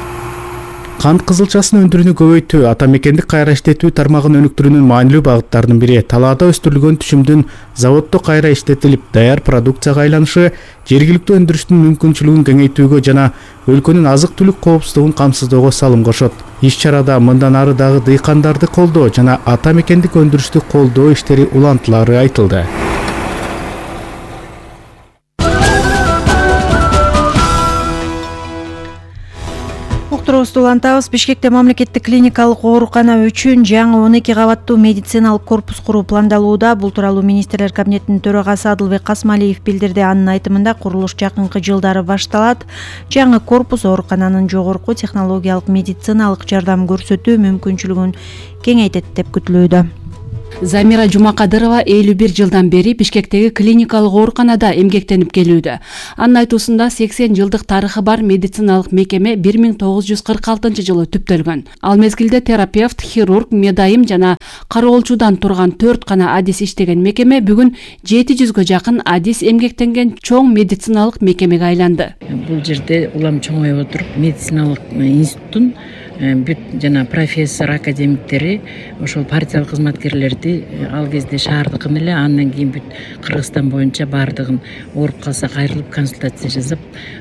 Speaker 1: Кант кызылчасын өндүрүүнү көбөйтүү ата мекендик кайра иштетүү тармагын өнүктүрүүнүн маанилүү багыттарынын бири. Талаада өстүрүлгөн түшүмдүн заводдо кайра иштетилип, даяр продукцияга айланышы жергиликтүү өндүрүштүн мүмкүнчүлүгүн кеңейтүүгө жана өлкөнүн азык-түлүк коопсуздугун камсыздоого салым кошот. Иш-чарада мындан ары дагы дыйкандарды колдоо жана ата мекендик өндүрүштү колдоо иштери улантылары айтылды.
Speaker 4: Уктуруубузду улантабыз. Бишкекте мамлекеттик клиникалык оорукана үчүн жаңы 12 кабаттуу медициналык корпус куруу пландалууда. Бул тууралуу министрлер кабинетинин төрагасы Адылбек Касмалиев билдирди. Анын айтымында курулуш жакынкы жылдары башталат. Жаңы корпус оорукананын жогорку технологиялык медициналык жардам көрсөтүү мүмкүнчүлүгүн кеңейтет деп күтүлүүдө.
Speaker 5: Замира Жумакадырова 51 жылдан бери Бишкектеги клиникалык ооруканада эмгектенип келүүдө. Анын айтуусунда 80 жылдык тарыхы бар медициналык мекеме 1946-жылы түптөлгөн. Ал мезгилде терапевт, хирург, медайым жана кароолчудан турган 4 гана адис иштеген мекеме бүгүн 700гө жакын адис эмгектенген чоң медициналык мекемеге айланды.
Speaker 17: Бул жерде улам чоңоюп отуруп медициналык институттун бүт жана профессор академиктери ошол партиялык кызматкерлерди ал кезде шаардыкын эле андан кийин бүт Кыргызстан боюнча баардыгын ооруп калса кайрылып консультация жасап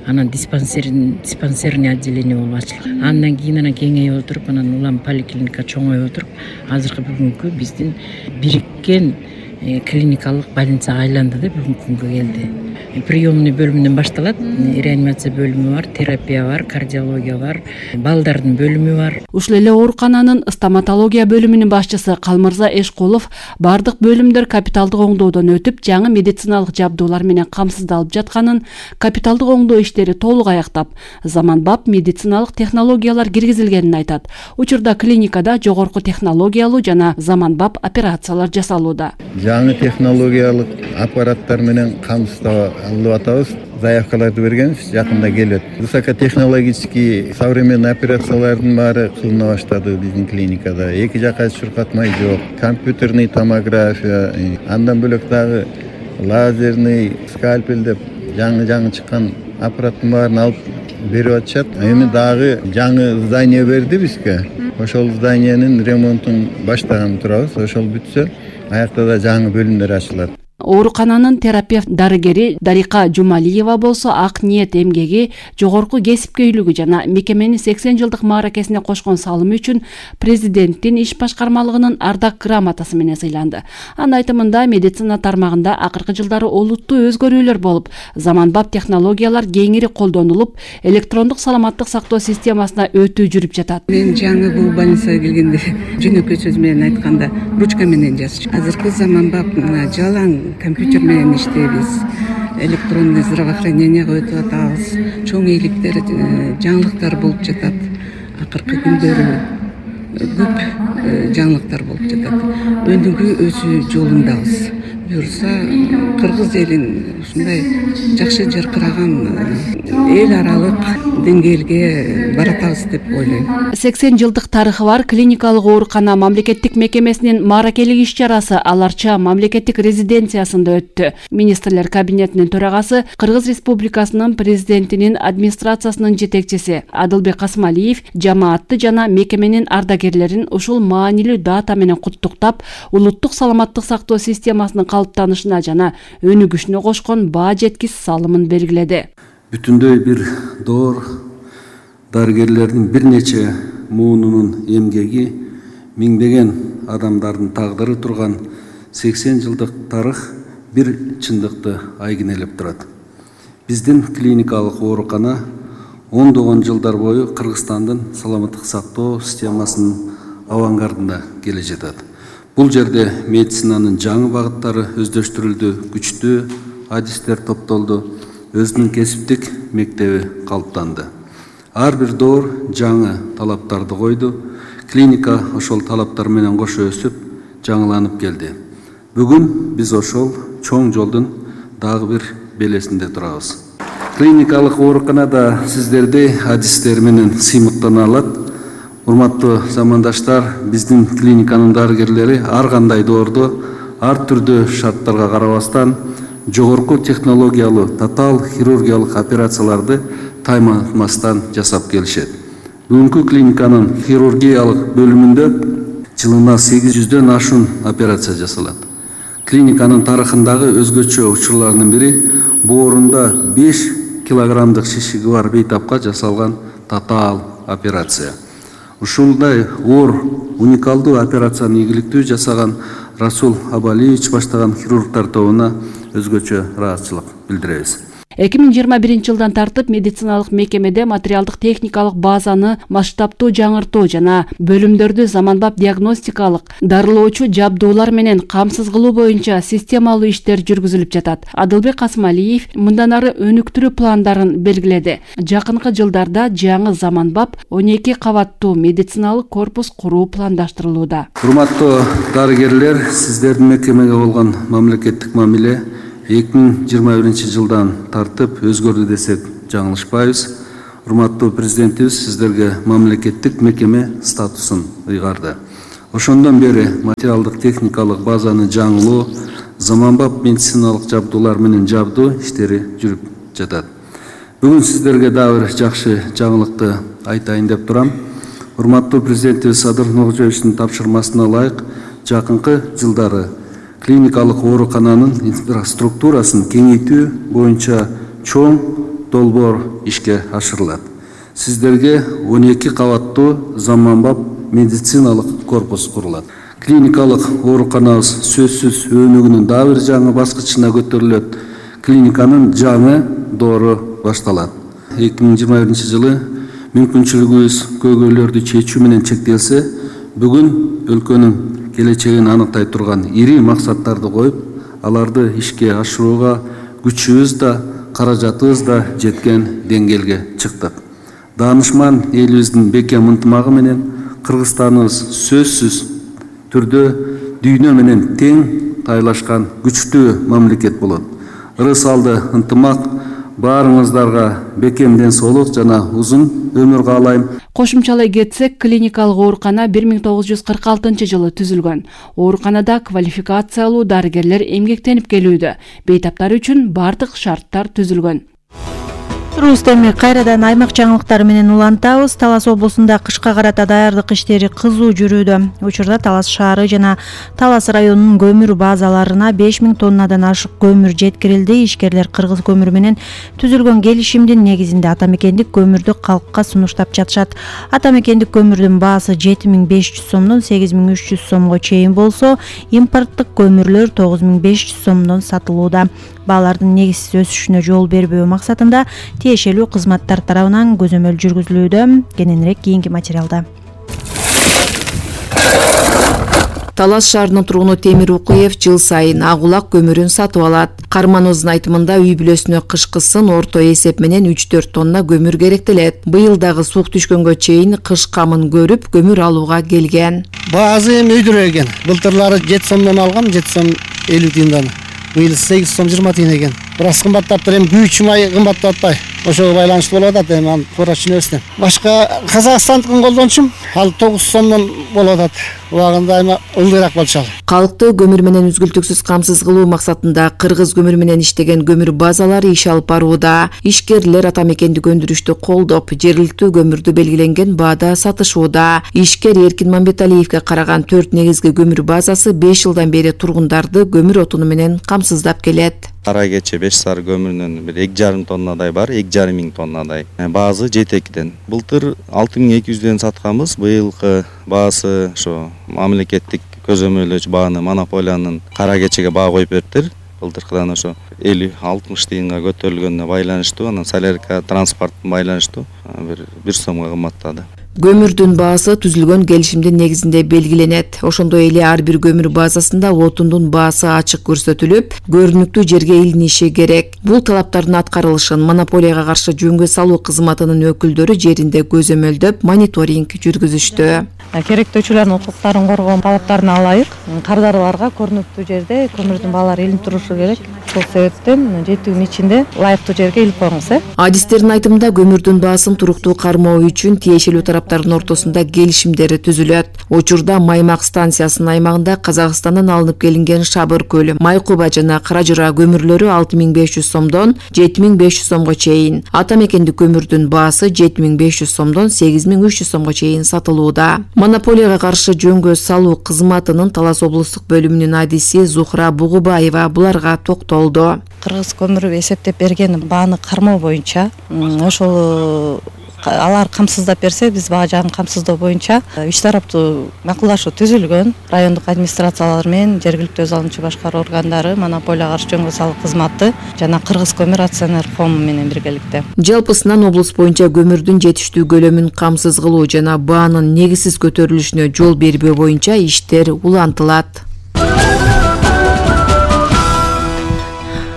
Speaker 17: анан диспансерный отделение болуп ачылган. Андан кийин анан кеңейип отуруп анан улам поликлиника чоңоюп отуруп азыркы бүгүнкү биздин бириккен клиникалык больницага айланды да бүгүнкү күнгө келди. Приемный бөлүмүнөн башталат. Реанимация бөлүмү бар, терапия бар, кардиология бар, балдардын бөлүмү бар.
Speaker 5: Ушул эле оорукананын стоматология бөлүмүнүн башчысы Калмырза Эшкулов бардык бөлүмдөр капиталдык оңдоодон өтүп, жаңы медициналык жабдуулар менен камсыздалып жатканын, капиталдык оңдоо иштери толук аяктап, заманбап медициналык технологиялар киргизилгенин айтат. Учурда клиникада жогорку технологиялуу жана заманбап операциялар жасалууда.
Speaker 18: Жаңы технологиялык аппараттар менен камсыздап алып атабыз. Заявкаларды бергенбиз, жакында келет. Высокотехнологический современный операциялардын баары кылына баштады биздин клиникада. Эки жака чуркатмай жок, компьютерный томография, андан бөлөк дагы лазерный скальпель деп жаңы чыккан аппараттын баарын алып берип атышат. Эми дагы жаңы здание берди бизге. Ошол зданиянын ремонтун баштаган турабыз. Ошол бүтсө, аякта да жаңы бөлүмдөр ачылат.
Speaker 5: Оорукананын терапевт дарыгери Дарика Жумалиева болсо ак ниет эмгеги, жогорку кесипкөйлүгү жана мекеменин 80 жылдык мааракесине кошкон салымы үчүн президенттин иш башкармалыгынын ардак грамотасы менен сыйланды. Анын айтымында медицина тармагында акыркы жылдары олуттуу өзгөрүүлөр болуп, заманбап технологиялар кеңири колдонулуп, электрондук саламаттык сактоо системасына өтүү жүрүп жатат.
Speaker 19: Мен жаңы бул больницага келгенде жөнөкөй сөз менен айтканда ручка менен жазчу. Азыркы заманбап жалаң компьютер менен иштейбиз, электронный здравоохранениеге өтүп атабыз, чоң ийгиликтер, жаңылыктар болуп жатат. Акыркы күндөрү көп жаңылыктар болуп жатат. Өнүгүү өсүү жолундабыз. Буюрса кыргыз элин ушундай жакшы жаркыраган эл аралык деңгээлге баратабыз деп ойлойм.
Speaker 5: 80 жылдык тарыхы бар клиникалык оорукана мамлекеттик мекемесинин мааракелик иш-чарасы Аларча мамлекеттик резиденциясында өттү. Министрлер кабинетинин төрагасы, Кыргыз Республикасынын президентинин администрациясынын жетекчиси Адылбек Касмалиев жамаатты жана мекеменин ардагерлерин ушул маанилүү дата менен куттуктап, улуттук саламаттык сактоо системасынын калыптанышына жана өнүгүшүнө кошкон баа жеткис салымын белгиледи.
Speaker 13: Бүтүндөй бир доор дарыгерлердин бир нече муунунун эмгеги, миңдеген адамдардын тагдыры турган 80 жылдык тарых бир чындыкты айгинелеп турат. Биздин клиникалык оорукана ондогон жылдар бою Кыргызстандын саламаттык сактоо системасынын авангардында келе жатат. Бул жерде медицинанын жаңы багыттары өздөштүрүлдү, күчтүү адистер топтолду, өзүнүн кесиптик мектеби калыптанды. Ар бир доор жаңы талаптарды койду, клиника ошол талаптар менен кошо өсүп, жаңыланып келди. Бүгүн биз ошол чоң жолдун дагы бир белесинде турабыз. Клиникалык ооруканада сиздерди адистер менен сыймыктана алат. Урматтуу замандаштар, биздин клиниканын дарыгерлери ар кандай доорду ар түрдүү шарттарга карабастан жогорку технологиялуу татаал хирургиялык операцияларды тайманмастан жасап келишет. Бүгүнкү клиниканын хирургиялык бөлүмүндө жылына 800дөн ашуун операция жасалат. Клиниканын тарыхындагы өзгөчө учурлардын бири боорунда 5 килограммдык шишиги бар бейтапка жасалган татаал операция. Ушундай оор уникалдуу операцияны ийгиликтүү жасаган Расул Абалиевич баштаган хирургтар тобуна өзгөчө ыраазычылык билдиребиз.
Speaker 5: 2021 жылдан тартып медициналык мекемеде материалдык техникалык базаны масштабтуу жаңыртуу жана бөлүмдөрдү заманбап диагностикалык дарылоочу жабдуулар менен камсыз кылуу боюнча системалуу иштер жүргүзүлүп жатат. Адылбек Касымалиев мындан ары өнүктүрүү пландарын белгиледи. Жакынкы жылдарда жаңы заманбап 12 кабаттуу медициналык корпус куруу пландаштырылууда.
Speaker 13: Урматтуу дарыгерлер, сиздердин мекемеге болгон мамлекеттик мамиле 2021 жылдан тартып өзгөрдү десек жаңылышпайбыз. Урматтуу президентибиз сиздерге мамлекеттик мекеме статусун ыйгарды. Ошондон бери материалдык техникалык базаны жаңылоо, заманбап медициналык жабдуулар менен жабдуу иштери жүрүп жатат. Бүгүн сиздерге дагы бир жакшы жаңылыкты айтайын деп турам. Урматтуу президентибиз Садыр Нуркожоевичтин тапшырмасына ылайык жакынкы жылдары клиникалык оорукананын инфраструктурасын кеңейтүү боюнча чоң долбоор ишке ашырылат. Сиздерге 12 кабаттуу заманбап медициналык корпус курулат. Клиникалык ооруканабыз сөзсүз өнүгүүнүн дагы бир жаңы баскычына көтөрүлөт. Клиниканын жаңы доору башталат. 2021 жылы мүмкүнчүлүгүбүз көйгөйлөрдү чечүү менен чектелсе, бүгүн өлкөнүн келечегин аныктай турган ири максаттарды коюп, аларды ишке ашырууга күчүбүз да, каражатыбыз да жеткен деңгээлге чыктык. Даанышман элибиздин бекем ынтымагы менен Кыргызстаныбыз сөзсүз түрдө дүйнө менен тең тайлашкан күчтүү мамлекет болот. Ырыс алды ынтымак баарыңыздарга бекем ден соолук жана узун өмүр каалайм.
Speaker 5: Кошумчалай кетсек, клиникалык оорукана 1946 жылы түзүлгөн. Ооруканада квалификациялуу дарыгерлер эмгектенип келүүдө. Бейтаптар үчүн бардык шарттар түзүлгөн.
Speaker 4: Рустеми кайрадан аймак жаңылыктары менен улантабыз. Талас облусунда кышка карата даярдык иштери кызуу жүрүүдө. Учурда Талас шаары жана Талас районунун көмүр базаларына 5000 тоннадан ашык көмүр жеткирилди. Ишкерлер кыргыз көмүрү менен түзүлгөн келишимдин негизинде атамекендик көмүрдү калкка сунуштап жатышат. Атамекендик көмүрдүн баасы 7500 сомдон 8300 сомго чейин болсо, импорттук көмүрлөр 9500 сомдон сатылууда. Баалардын негизсиз өсүшүнө жол бербөө максатында тиешелүү кызматтар тарабынан көзөмөл жүргүзүлүүдө. Кененирээк кийинки материалда.
Speaker 20: Талас шаарынын тургуну Темир Укуев жыл сайын агулак көмүрүн сатып алат. Кармановдун айтымында үй бүлөсүнө кышкысын орто эсеп менен 3-4 тонна көмүр керектелет. Быйыл дагы суук түшкөнгө чейин кыш камын көрүп көмүр алууга келген.
Speaker 21: Баасы эми өйдүрө экен. Былтырлары 7 сомдон алгам, 7 сом 50 тыйындан. Быйыл 8 сом 20 тыйын экен. Бирок кымбаттаптыр, эми күйүүчү май кымбаттап атпайбы. Ошого байланыштуу болуп атат, эми аны туура түшүнөбүз. Башка Казакстандыкын колдончумун, ал 9 сомдон болуп атат. Убагында эми ылдыйраак болчу.
Speaker 20: Калкты көмүр менен үзгүлтүксүз камсыз кылуу максатында кыргыз көмүрү менен иштеген көмүр базалары иш алып барууда. Ишкерлер атамекендик өндүрүштү колдоп, жергиликтүү көмүрдү белгиленген баада сатышууда. Ишкер Эркин Мамбеталиевге караган 4 негизги көмүр базасы 5 жылдан бери тургундарды көмүр отуну менен камсыздап келет.
Speaker 22: Кара кече 5 сар көмүрүнөн бир 2,5 тоннадай бар, 2,5 тоннадай. Баасы 7,2ден. Былтыр 6200ден сатканбыз. Быйылкы баасы ошо мамлекеттик көзөмөлдөөчү бааны монополиянын кара кечеге баа коюп бериптир. Былтыркыдан ошо 50-60 тыйынга көтөрүлгөнүнө байланыштуу, анан солярка транспорттун байланыштуу бир сомго кымбаттады.
Speaker 20: Көмүрдүн баасы түзүлгөн келишимдин негизинде белгиленет. Ошондой эле ар бир көмүр базасында отундун баасы ачык көрсөтүлүп, көрүнүктүү жерге илиниши керек. Бул талаптардын аткарылышын монополияга каршы жөнгө салуу кызматынын өкүлдөрү жеринде көзөмөлдөп, мониторинг жүргүзүштү.
Speaker 2: керектөөчүлөрдүн укуктарын коргоо талаптарына ылайык кардарларга көрүнүктүү жерде көмүрдүн баалары илинип турушу керек. Ошол себептен 7 күн ичинде ылайыктуу жерге илип коюңуз.
Speaker 20: Адистердин айтымында көмүрдүн баасын туруктуу кармоо үчүн тиешелүү тараптардын ортосунда келишимдер түзүлөт. Учурда Маймак станциясынын аймагында Казакстандан алынып келинген Шабыр көлү, Майкуба жана Каражыра көмүрлөрү 6500 сомдон 7500 сомго чейин, ата мекендик көмүрдүн баасы 7500 сомдон 8300 сомго чейин сатылууда. Монополияга каршы жөнгө салуу кызматынын Талас облустук бөлүмүнүн адиси Зухра Бугубаева буларга токтолду.
Speaker 2: Кыргыз көмүрү эсептеп берген бааны кармоо боюнча ошол алар камсыздап берсе, биз баа жагын камсыздоо боюнча үч тараптуу макулдашуу түзүлгөн. Райондук администрациялар менен жергиликтүү өз алуучу башкаруу органдары, монополияга каршы жөнгө салуу кызматы жана Кыргыз көмүр акционер коому менен биргеликте.
Speaker 20: Жалпысынан облус боюнча көмүрдүн жетиштүү көлөмүн камсыз кылуу жана баанын негизсиз көтөрүлүшүнө жол бербөө боюнча иштер улантылат.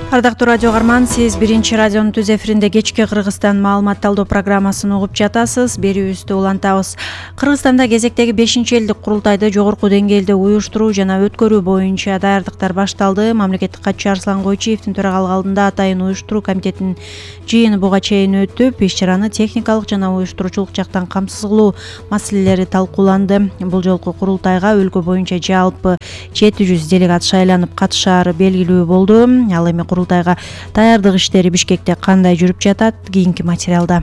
Speaker 4: Ардактуу радио угарман, сиз биринчи радионун түз эфиринде кечки Кыргызстан маалымат талдоо программасын угуп жатасыз. Берүүбүздү улантабыз. Кыргызстанда кезектеги 5-элдик курултайды жогорку деңгээлде уюштуруу жана өткөрүү боюнча даярдыктар башталды. Мамлекеттик катчы Арслан Койчиевдин төрагалык алдында атайын уюштуруу комитетинин жыйыны буга чейин өтүп, иш-чараны техникалык жана уюштуруучулук жактан камсыз кылуу маселелери талкууланды. Бул жолку курултайга өлкө боюнча жалпы 700 делегат шайланып катышаары белгилүү болду. Ал эми курултайга даярдык иштери Бишкекте кандай жүрүп жатат? Кийинки материалда.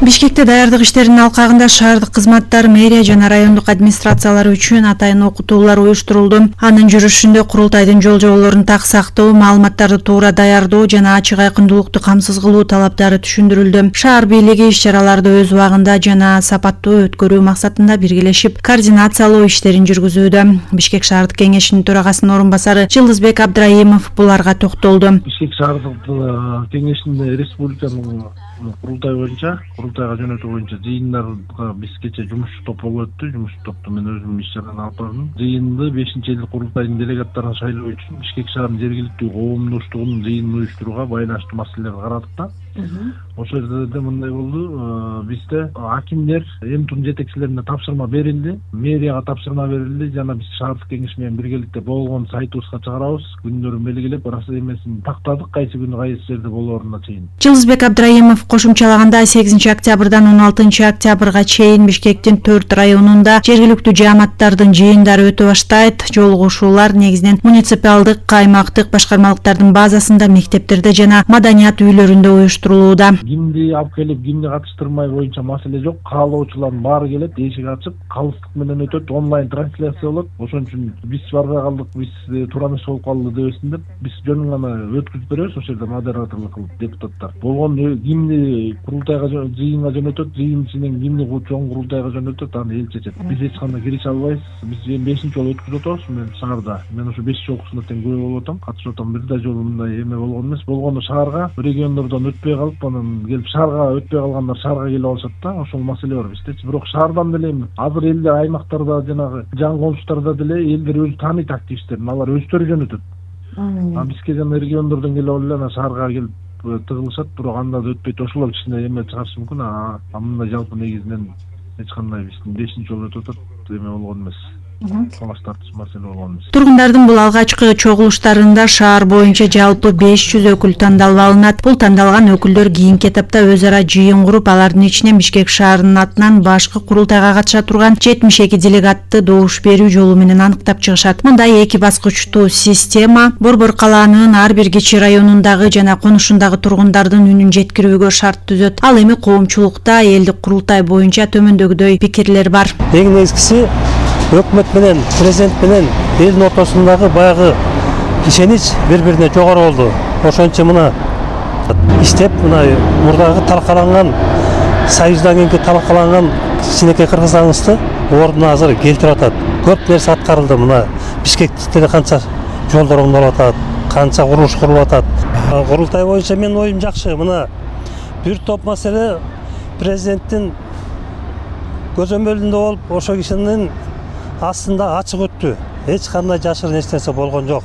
Speaker 4: Бишкекте даярдык иштеринин алкагында шаардык кызматтар, мэрия жана райондук администрациялар үчүн атайын окутуулар уюштурулду. Анын жүрүшүндө курултайдын жол жоболорун так сактоо, маалыматтарды туура даярдоо жана ачык айкындуулукту камсыз кылуу талаптары түшүндүрүлдү. Шаар бийлиги иш-чараларды өз убагында жана сапаттуу өткөрүү максатында биргелешип координациялоо иштерин жүргүзүүдө. Бишкек шаардык кеңешинин төрагасынын орун басары Жылдызбек Абдраимов буларга токтолду.
Speaker 3: Бишкек шаардык кеңешинде республиканын курултай боюнча, курултайга жөнөтүү боюнча жыйындарга биз кече жумушчу топ болуп өттү. Жумушчу топту мен өзүм иш-чараны алып бардым. Жыйынды 5-элдик курултайдын делегаттарын шайлоо үчүн Бишкек шаарынын жергиликтүү коомдоштугунун жыйынын уюштурууга байланыштуу маселелерди карадык да. Ошол жерде мындай болду. Бизде акимдер МТУнун жетекчилерине тапшырма берилди, мэрияга тапшырма берилди жана биз шаардык кеңеш менен биргеликте болгон сайтыбызга чыгарабыз, күндөрүн белгилеп, ырасы эмесин тактадык, кайсы күнү кайсы жерде болооруна чейин.
Speaker 4: Жылдызбек Абдраимов кошумчалаганда 8 октябрдан 16 октябрга чейин Бишкектин 4 районунда жергиликтүү жааматтардын жыйындары өтө баштайт. Жолугушуулар негизинен муниципалдык, аймактык башкармалыктардын базасында, мектептерде жана маданият үйлөрүндө уюштурулууда.
Speaker 3: Кимди алып келип, кимди катыштырмай боюнча маселе жок. Каалоочулардын баары келет, эшик ачык, калыстык менен өтөт, онлайн трансляция болот. Ошон үчүн биз барбай калдык, биз туура эмес болуп калды дебесин деп, биз жөн гана өткүзүп беребиз ошол жерде модераторлук кылып депутаттар. Болгон кимди курултайга жыйынга жөнөтөт, жыйын ичинен кимди чоң курултайга жөнөтөт, аны эл чечет. Биз эч кандай киреше албайбыз. Биз 5-чи жолу өткүзүп атабыз мен шаарда. Мен ошо 5 жолкусуна тең күбө болуп атам, катышып атам. Бир да жолу мындай эме болгон эмес. Болгону шаарга, региондордон өтпөй калып, анан келип шаарга өтпөй калгандар шаарга келип алышат да. Ошол маселе бар биздечи. Бирок шаардан деле азыр элдер аймактарда жанагы жан комуштарда деле элдер өзү тааныйт активисттерин, алар өздөрү жөнөтөт. Бизге жана региондордон келип алып эле анан шаарга келип тыгылышат, бирок анда да өтпөйт. Ошолор кичине эме чыгарышы мүмкүн. Мындай жалпы негизинен эч кандай биздин 5-чи жолу өтүп атат, эме болгон эмес. Талаш тартыш маселе болгон эмес.
Speaker 4: Тургундардын бул алгачкы чогулуштарында шаар боюнча жалпы 500 өкүл тандалып алынат. Бул тандалган өкүлдөр кийинки этапта өз ара жыйын куруп, алардын ичинен Бишкек шаарынын атынан башкы курултайга катыша турган 72 делегатты добуш берүү жолу менен аныктап чыгышат. Мындай 2 баскычтуу система Борбор калаанын ар бир кичи районундагы жана конушундагы тургундардын үнүн жеткирүүгө шарт түзөт. Ал эми коомчулукта элдик курултай боюнча төмөндөгүдөй пикирлер бар.
Speaker 23: Эң негизгиси өкмөт менен, президент менен элдин ортосундагы баягы ишенич бири-бирине жогору болду. Ошончо мына иштеп, мына мурдагы талкаланган союздан кийинки талкаланган кичинекей Кыргызстаныбызды ордуна азыр келтирип атат. Көп нерсе аткарылды. Мына Бишкекте канча жолдор оңдолуп атат, канча курулуш курулуп атат. Курултай боюнча менин оюм жакшы. Мына бир топ маселе президенттин көзөмөлүндө болуп, ошол кишинин астында ачык өттү. Эч кандай жашырын эч нерсе болгон жок.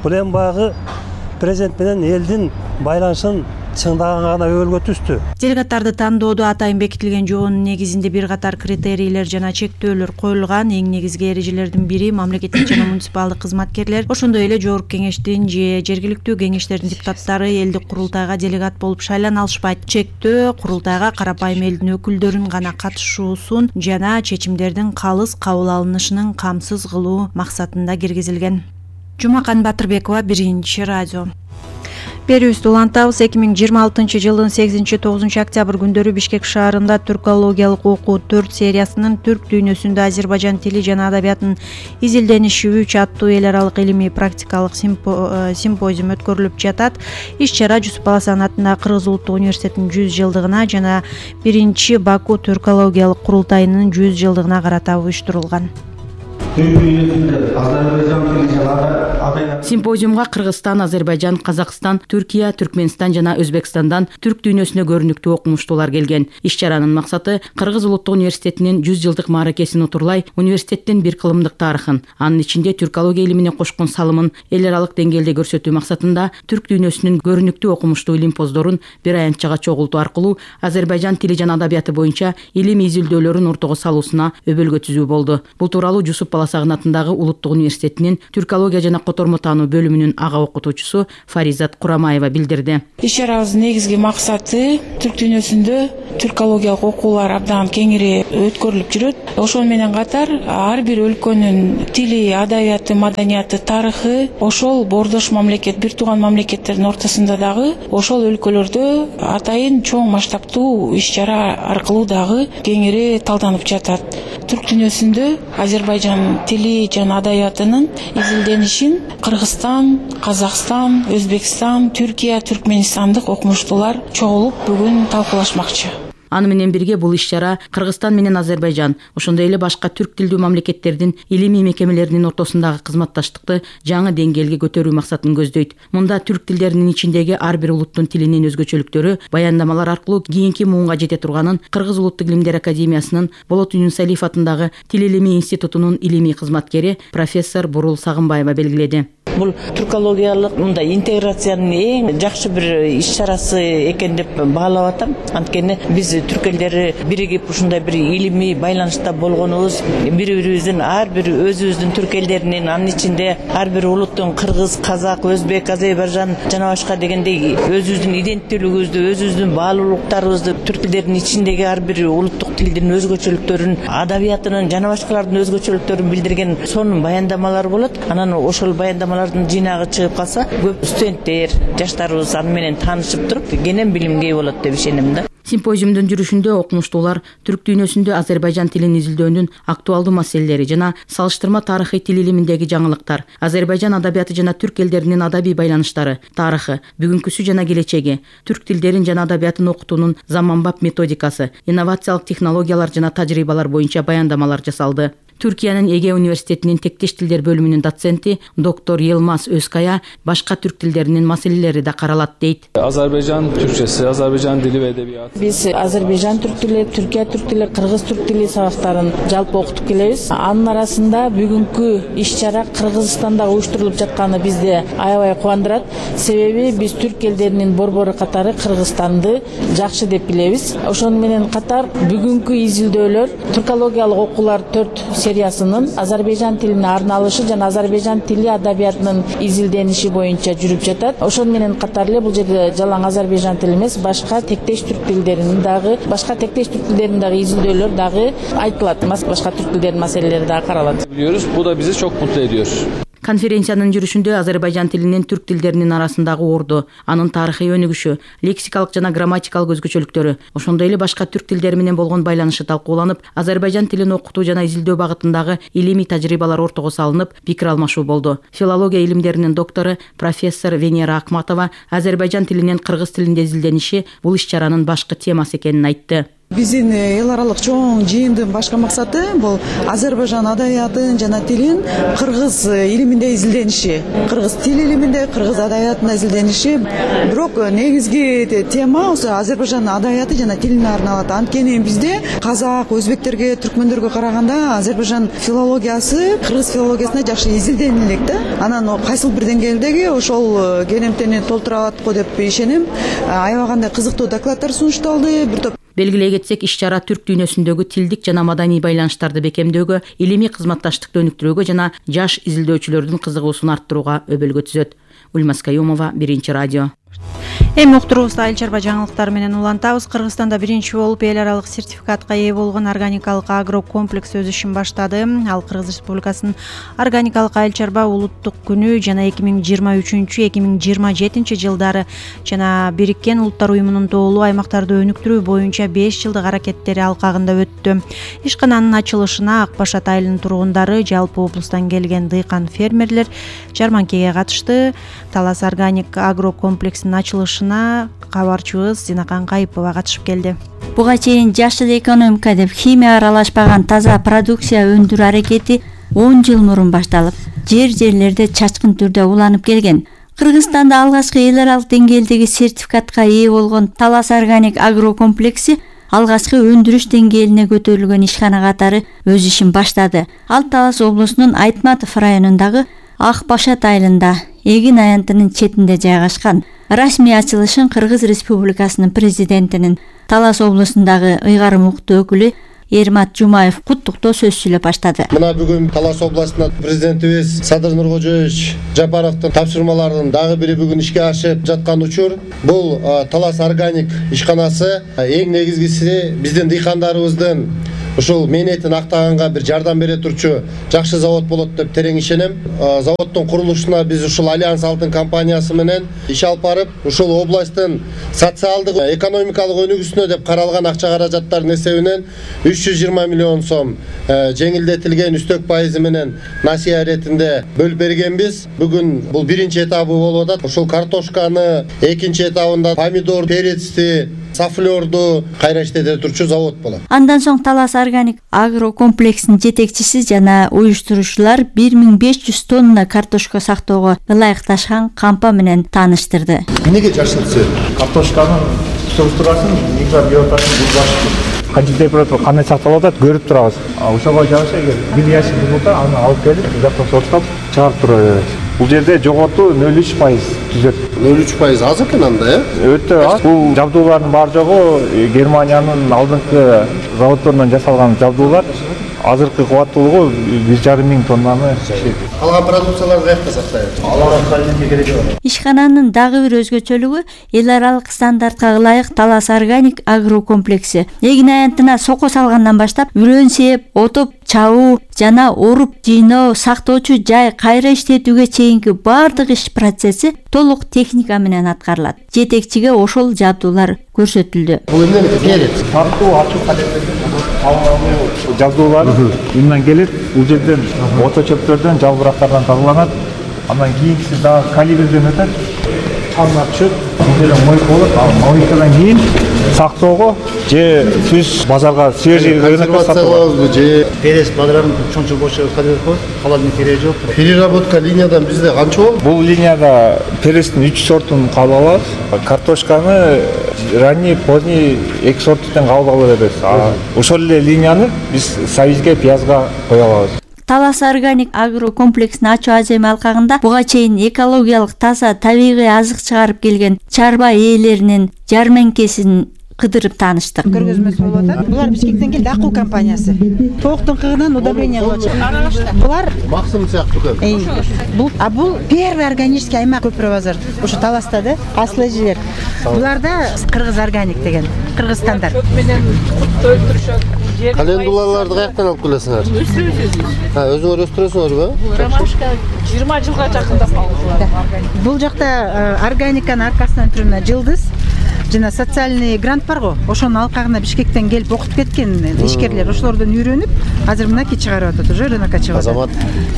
Speaker 23: Бул эми баягы президент менен элдин байланышын чыңдаган гана өбөлгө түстү.
Speaker 4: Делегаттарды тандоодо атайын бекитилген жоонун негизинде бир катар критерийлер жана чектөөлөр коюлган. Эң негизги эрежелердин бири мамлекеттик жана муниципалдык кызматкерлер, ошондой эле жогорку кеңештин же жергиликтүү кеңештердин депутаттары элдик курултайга делегат болуп шайлана алышпайт. Чектөө курултайга карапайым элдин өкүлдөрүн гана катышуусун жана чечимдердин калыс кабыл алынышынын камсыз кылуу максатында киргизилген. Жумакан Батырбекова, Биринчи радио. Берүүбүздү улантабыз. 2026 жылдын 8-9 октябрь күндөрү Бишкек шаарында түркологиялык окуу 4 сериясынын түрк дүйнөсүндө Азербайжан тили жана адабиятынын изилдениши 3 аттуу эл аралык илимий практикалык симпозиум өткөрүлүп жатат. Иш-чара Жусуп Баласан атындагы Кыргыз улуттук университетинин 100 жылдыгына жана 1-Баку түркологиялык курултайынын 100 жылдыгына карата уюштурулган.
Speaker 8: Симпозиумга Кыргызстан, Азербайжан, Казакстан, Түркия, Түркменстан жана Өзбекстандан түрк дүйнөсүнө көрүнүктүү окумуштуулар келген. Иш-чаранын максаты Кыргыз улуттук университетинин 100 жылдык мааракесин утурлай университеттин бир кылымдык тарыхын, анын ичинде түркология илимине кошкон салымын эл аралык деңгээлде көрсөтүү максатында түрк дүйнөсүнүн көрүнүктүү окумуштуу илимпоздорун бир аянтчага чогултуу аркылуу Азербайжан тили жана адабияты боюнча илимий изилдөөлөрүн ортого салуусуна өбөлгө түзүү болду. Бул тууралуу Жусуп Баласагын атындагы Улуттук университетинин түркология жана котормо таануу бөлүмүнүн ага окутуучусу Фаризат Курамаева билдирди.
Speaker 7: Иш-чарабыздын негизги максаты түрк дүйнөсүндө түркологиялык окуулар абдан кеңири өткөрүлүп жүрөт. Ошол менен катар ар бир өлкөнүн тили, адабияты, маданияты, тарыхы ошол боордош мамлекет, бир тууган мамлекеттердин ортосунда дагы ошол өлкөлөрдө атайын чоң масштабтуу иш-чара аркылуу дагы кеңири талданып жатат. Түрк дүйнөсүндө Азербайжан тили жана адабиятынын изилденишин Кыргызстан, Казакстан, Өзбекстан, Түркия, Түркменстандык окумуштуулар чогулуп бүгүн талкуулашмакчы.
Speaker 8: Аны менен бирге бул иш-чара Кыргызстан менен Азербайжан, ошондой эле башка түрк тилдүү мамлекеттердин илимий мекемелеринин ортосундагы кызматташтыкты жаңы деңгээлге көтөрүү максатын көздөйт. Мында түрк тилдеринин ичиндеги ар бир улуттун тилинин өзгөчөлүктөрү баяндамалар аркылуу кийинки муунга жете турганын Кыргыз улуттук илимдер академиясынын Болот Юнусалиев атындагы Тил илимий институтунун илимий кызматкери профессор Бурул Сагынбаева белгиледи.
Speaker 9: Бул түркологиялык мындай интеграциянын эң жакшы бир иш-чарасы экен деп баалап атам. Анткени биз түрк элдери биригип ушундай бир илимий байланышта болгонубуз, бири-бирибиздин ар бир өзүбүздүн түрк элдеринин, анын ичинде ар бир улуттун кыргыз, казак, өзбек, Азербайжан жана башка дегендей өзүбүздүн иденттүүлүгүбүздү, өзүбүздүн баалуулуктарыбызды, түрк тилдеринин ичиндеги ар бир улуттук тилдин өзгөчөлүктөрүн, адабиятынын жана башкалардын өзгөчөлүктөрүн билдирген сонун баяндамалар болот. Анан ошол баяндамалардын жыйнагы чыгып калса, көп студенттер, жаштарыбыз аны менен таанышып туруп, кенен билимге ээ болот деп ишенем да.
Speaker 8: Симпозиумдун жүрүшүндө окумуштуулар түрк дүйнөсүндө Азербайжан тилин изилдөөнүн актуалдуу маселелери жана салыштырма тарыхый тил илиминдеги жаңылыктар, Азербайжан адабияты жана түрк элдеринин адабий байланыштары, тарыхы, бүгүнкүсү жана келечеги, түрк тилдерин жана адабиятын окутуунун заманбап методикасы, инновациялык технологиялар жана тажрыйбалар боюнча баяндамалар жасалды. Түркиянын Эге университетинин тектеш тилдер бөлүмүнүн доценти доктор Елмаз Өзкая башка түрк тилдеринин маселелери да каралат дейт.
Speaker 10: Азербайжан түркчеси, Азербайжан тили ва эдебияты.
Speaker 7: Биз Азербайжан түрк тили, Түркия түрк тили, Кыргыз түрк тили сабактарын жалпы окутуп келебиз. Анын арасында бүгүнкү иш-чара Кыргызстанда уюштурулуп жатканы бизди аябай кубандырат. Себеби биз түрк элдеринин борбору катары Кыргызстанды жакшы деп билебиз. Ошону менен катар бүгүнкү изилдөөлөр түркологиялык окуулар 4 сериясынын Азербайжан тилине арналышы жана Азербайжан тили адабиятынын изилдениши боюнча жүрүп жатат. Ошону менен катар эле бул жерде жалаң Азербайжан тили эмес, башка тектеш түрк тилдеринин дагы изилдөөлөр дагы айтылат. Башка түрк тилдеринин маселелери дагы каралат.
Speaker 10: Biliyoruz, bu da bizi çok mutlu ediyor.
Speaker 8: Конференциянын жүрүшүндө Азербайжан тилинин түрк тилдеринин арасындагы орду, анын тарыхый өнүгүшү, лексикалык жана грамматикалык өзгөчөлүктөрү, ошондой эле башка түрк тилдери менен болгон байланышы талкууланып, Азербайжан тилин окутуу жана изилдөө багытындагы илимий тажрыйбалар ортого салынып, пикир алмашуу болду. Филология илимдеринин доктору профессор Венера Акматова Азербайжан тилинин кыргыз тилинде изилдениши бул иш-чаранын башкы темасы экенин айтты.
Speaker 11: Биздин эл аралык чоң жыйындын башкы максаты бул Азербайжан адабиятын жана тилин кыргыз илиминде изилдениши, кыргыз тил илиминде, кыргыз адабиятында изилдениши. Бирок негизги тема ошо Азербайжан адабияты жана тилине арналат. Анткени бизде казак, өзбектерге, түркмөндөргө караганда Азербайжан филологиясы кыргыз филологиясына жакшы изилденип элек да. Анан кайсыл бир деңгээлдеги ошол керемтени толтура алат го деп ишенем. Аябагандай кызыктуу докладдар сунушталды. Бир топ
Speaker 12: Белгилей кетсек, иш-чара түрк дүйнөсүндөгү тилдик жана маданий байланыштарды бекемдөөгө, илимий кызматташтыкты өнүктүрүүгө жана жаш изилдөөчүлөрдүн кызыгуусун арттырууга өбөлгө түзөт. Ульмас Каюмова, Биринчи радио.
Speaker 4: Эми уктуруубузда Айыл чарба жаңылыктары менен улантабыз. Кыргызстанда биринчи болуп эл аралык сертификатка ээ болгон органикалык агрокомплекс өз ишин баштады. Ал Кыргыз Республикасынын органикалык айыл чарба улуттук күнү жана 2023-2027 жылдары жана Бириккен Улуттар уюмунун тоолуу аймактарды өнүктүрүү боюнча 5 жылдык аракеттери алкагында өттү. Ишкананын ачылышына Ак Башат айылынын тургундары, жалпы облустан келген дыйкан фермерлер жарманкеге катышты. Талас органик агрокомплексинин ачылышына кабарчыбыз Зинакан Кайыпова катышып келди.
Speaker 14: Буга чейин жашыл экономика деп химия аралашпаган таза продукция өндүрүү аракети 10 жыл мурун башталып, жерлерде чачкын түрдө уланып келген. Кыргызстанда алгачкы эл аралык деңгээлдеги сертификатка ээ болгон Талас органик агрокомплекси алгачкы өндүрүш деңгээлине көтөрүлгөн ишкана катары өз ишин баштады. Ал Талас облусунун Айтматов районундагы Ак Башат айылында Эгин аянтынын четинде жайгашкан. Расмий ачылышын Кыргыз Республикасынын президентинин Талас облусундагы ыйгарым уктуу өкүлү Эрмат Жумаев куттуктоо сөз сүйлөп баштады.
Speaker 24: Мына бүгүн Талас областында президентибиз Садыр Нуркожоевич Жапаровдун тапшырмаларынын дагы бири бүгүн ишке ашып жаткан учур. Бул Талас органик ишканасы эң негизгиси биздин дыйкандарыбыздын ушул мээнетин актаганга бир жардам бере турчу жакшы завод болот деп терең ишенем. Заводдун курулушуна биз ушул Альянс Алтын компаниясы менен иш алып барып, ушул областтын социалдык, экономикалык өнүгүүсүнө деп каралган акча каражаттардын эсебинен 320 миллион сом жеңилдетилген үстөк пайызы менен насыя иретинде бөлүп бергенбиз. Бүгүн бул биринчи этабы болуп атат. Ушул картошканы, экинчи этабында помидор, перецти, сафлерду кайра иштете турчу завод болот.
Speaker 14: Андан соң Талас органик агрокомплексинин жетекчиси жана уюштуруучулар 1500 тонна картошка сактоого ылайыкташкан кампа менен тааныштырды.
Speaker 24: Эмнеге жашылтсы?
Speaker 25: Картошканын структурасын микробиотасын булбашты. Канча температура кандай сакталып атат көрүп турабыз. Ошого жараша эгер бир ящик болсо аны алып келип жактан сорттоп чыгарып тура беребиз. Бул жерде жоготу 0,3% түзөт.
Speaker 24: 0,3% аз экен анда,
Speaker 25: Өтө аз. Бул жабдуулардын баары жогу Германиянын алдыңкы заводдорунан жасалган жабдуулар. Азыркы кубаттуулугу 1,5 миң тоннаны ишет.
Speaker 24: Калган продукцияларды каякта сактайбыз?
Speaker 25: Аларга кайсы кереги бар.
Speaker 14: Ишкананын дагы бир өзгөчөлүгү эл аралык стандартка ылайык Талас органик агрокомплекси. Эгин аянтына соко салгандан баштап үрөн сээп, отуп, чабуу жана оруп, жыйноо, сактоочу жай, кайра иштетүүгө чейинки бардык иш процесси толук техника менен аткарылат. Жетекчиге ошол жабдуулар көрсөтүлдү.
Speaker 24: Бул эмне керет?
Speaker 25: Тартуу, ачуу жабдуулар мындан келет. Бул жерден ото чөптөрдөн, жалбырактардан тазаланат. Андан кийинкиси дагы калибрден өтөт. Чаңга түшөт. Бул жерде мойка болот. Ал мойкадан кийин сактоого же түз базарга свежий рынокко сатууга
Speaker 24: же перес бадрарын чоң бошо кадыр коет. Калардын кереги жок. Переработка линиядан бизде канча болду?
Speaker 25: Бул линияда перестин 3 сортун кабыл алабыз. Картошканы ранний, поздний 2 сорттан кабыл ала беребиз. Ошол эле линияны биз сабизге, пиязга кое алабыз.
Speaker 14: Талас органик агрокомплексин ачуу ажем алкагында буга чейин экологиялык таза табигый азык чыгарып келген чарба ээлеринин жарманкесин кыдырып тааныштык.
Speaker 26: Көргөзмөсү болуп атат. Булар Бишкектен келди, Акуу компаниясы. Тооктун кыгынан удобрение кылып чыккан. Булар
Speaker 24: Максим сыяктуу көп.
Speaker 26: Бул первый органический аймак Көпүрө базар. Ушу Таласта да аслы жер. Буларда Кыргыз органик деген Кыргызстанда.
Speaker 24: Менен өстүрүшөт. Календулаларды каяктан алып келесиңер? Өзүңөр өстүрөсүңөрбү?
Speaker 26: Ромашка 20 жылга жакындап алды. Бул жакта органиканын аркасынан түрүнө жылдыз. жана социальный грант барго, ошонун алкагына Бишкектен келип окутуп кеткен ишкерлер ошолордон үйрөнүп азыр мынакей чыгарып атат, уже рынокко чыгып атат.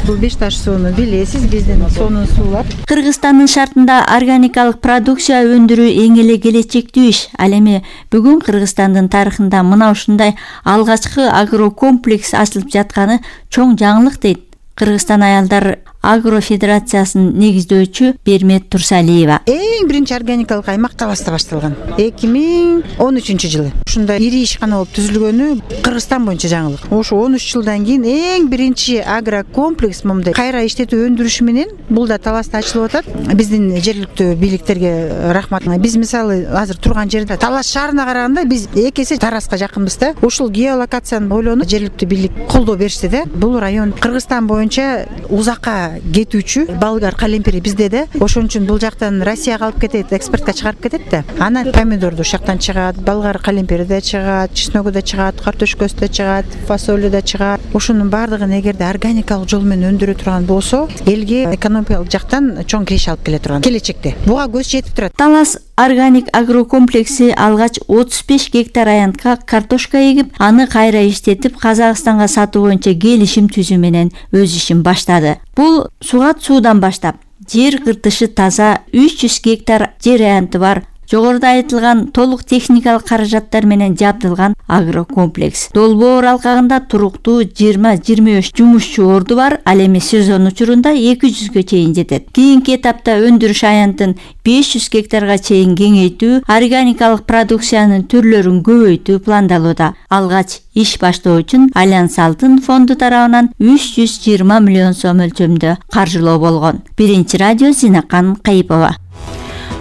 Speaker 26: Бул Беш таш сууну билесиз, биздин сонун суулар.
Speaker 14: Кыргызстандын шартында органикалык продукция өндүрүү эң эле келечектүү иш. Ал эми бүгүн Кыргызстандын тарыхында мына ушундай алгачкы агрокомплекс ачылып жатканы чоң жаңылык дейт Кыргызстан аялдар агрофедерациясынын негиздөөчү Бермет Турсалиева.
Speaker 26: Эң биринчи органикалык аймак Таласта башталган 2013-жылы. Ушундай ири ишкана болуп түзүлгөнү Кыргызстан боюнча жаңылык. Ошо 13 жылдан кийин эң биринчи агрокомплекс момундай кайра иштетүү өндүрүшү менен бул да Таласта ачылып атат. Биздин жергиликтүү бийликтерге рахмат. Биз мисалы азыр турган жерде Талас шаарына караганда биз эки эсе Тараска жакынбыз да. Ушул геолокацияны ойлонуп жергиликтүү бийлик колдоо беришти да. Бул район Кыргызстан боюнча узакка кетүүчү болгар калемпири бизде да. Ошон үчүн бул жактан Россияга алып кетет, экспортко чыгарып кетет да. Анан помидорду ушул жактан чыгат, болгар калемпири да чыгат, чесногу да чыгат, картошкасы да чыгат, фасолу да чыгат. Ошонун баардыгын эгерде органикалык жол менен өндүрө турган болсо, элге экономикалык жактан чоң киреше алып келе турган келечекте. Буга көз жетип турат.
Speaker 14: Талас органик агрокомплекси алгач 35 гектар аянтка картошка эгип, аны кайра иштетип Казакстанга сатуу боюнча келишим түзүү менен өз ишин баштады. Бул сугат суудан баштап жер кыртышы таза 300 гектар жер аянты бар, жогоруда айтылган толук техникалык каражаттар менен жабдылган агрокомплекс. Долбоор алкагында туруктуу 20-25 жумушчу орду бар, ал эми сезон учурунда 200гө чейин жетет. Кийинки этапта өндүрүш аянтын 500 гектарга чейин кеңейтүү, органикалык продукциянын түрлөрүн көбөйтүү пландалууда. Алгач иш баштоо үчүн Альянс Алтын фонду тарабынан 320 миллион сом өлчөмдө каржылоо болгон. Биринчи радио Зинакан Кайыпова.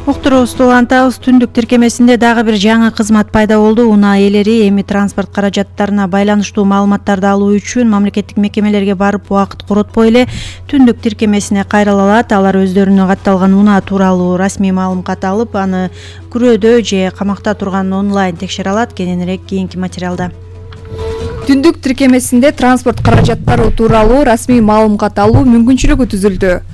Speaker 4: Уктуруубузду улантабыз. Түндүк тиркемесинде дагы бир жаңы кызмат пайда болду. Унаа ээлери эми транспорт каражаттарына байланыштуу маалыматтарды алуу үчүн мамлекеттик мекемелерге барып убакыт коротпой эле түндүк тиркемесине кайрыла алат. Алар өздөрүнө катталган унаа тууралуу расмий маалымат алып, аны күрөөдө же камакта турган онлайн текшере алат. Кененирээк кийинки материалда.
Speaker 1: Түндүк тиркемесинде транспорт каражаттары тууралуу расмий маалымат алуу мүмкүнчүлүгү түзүлдү.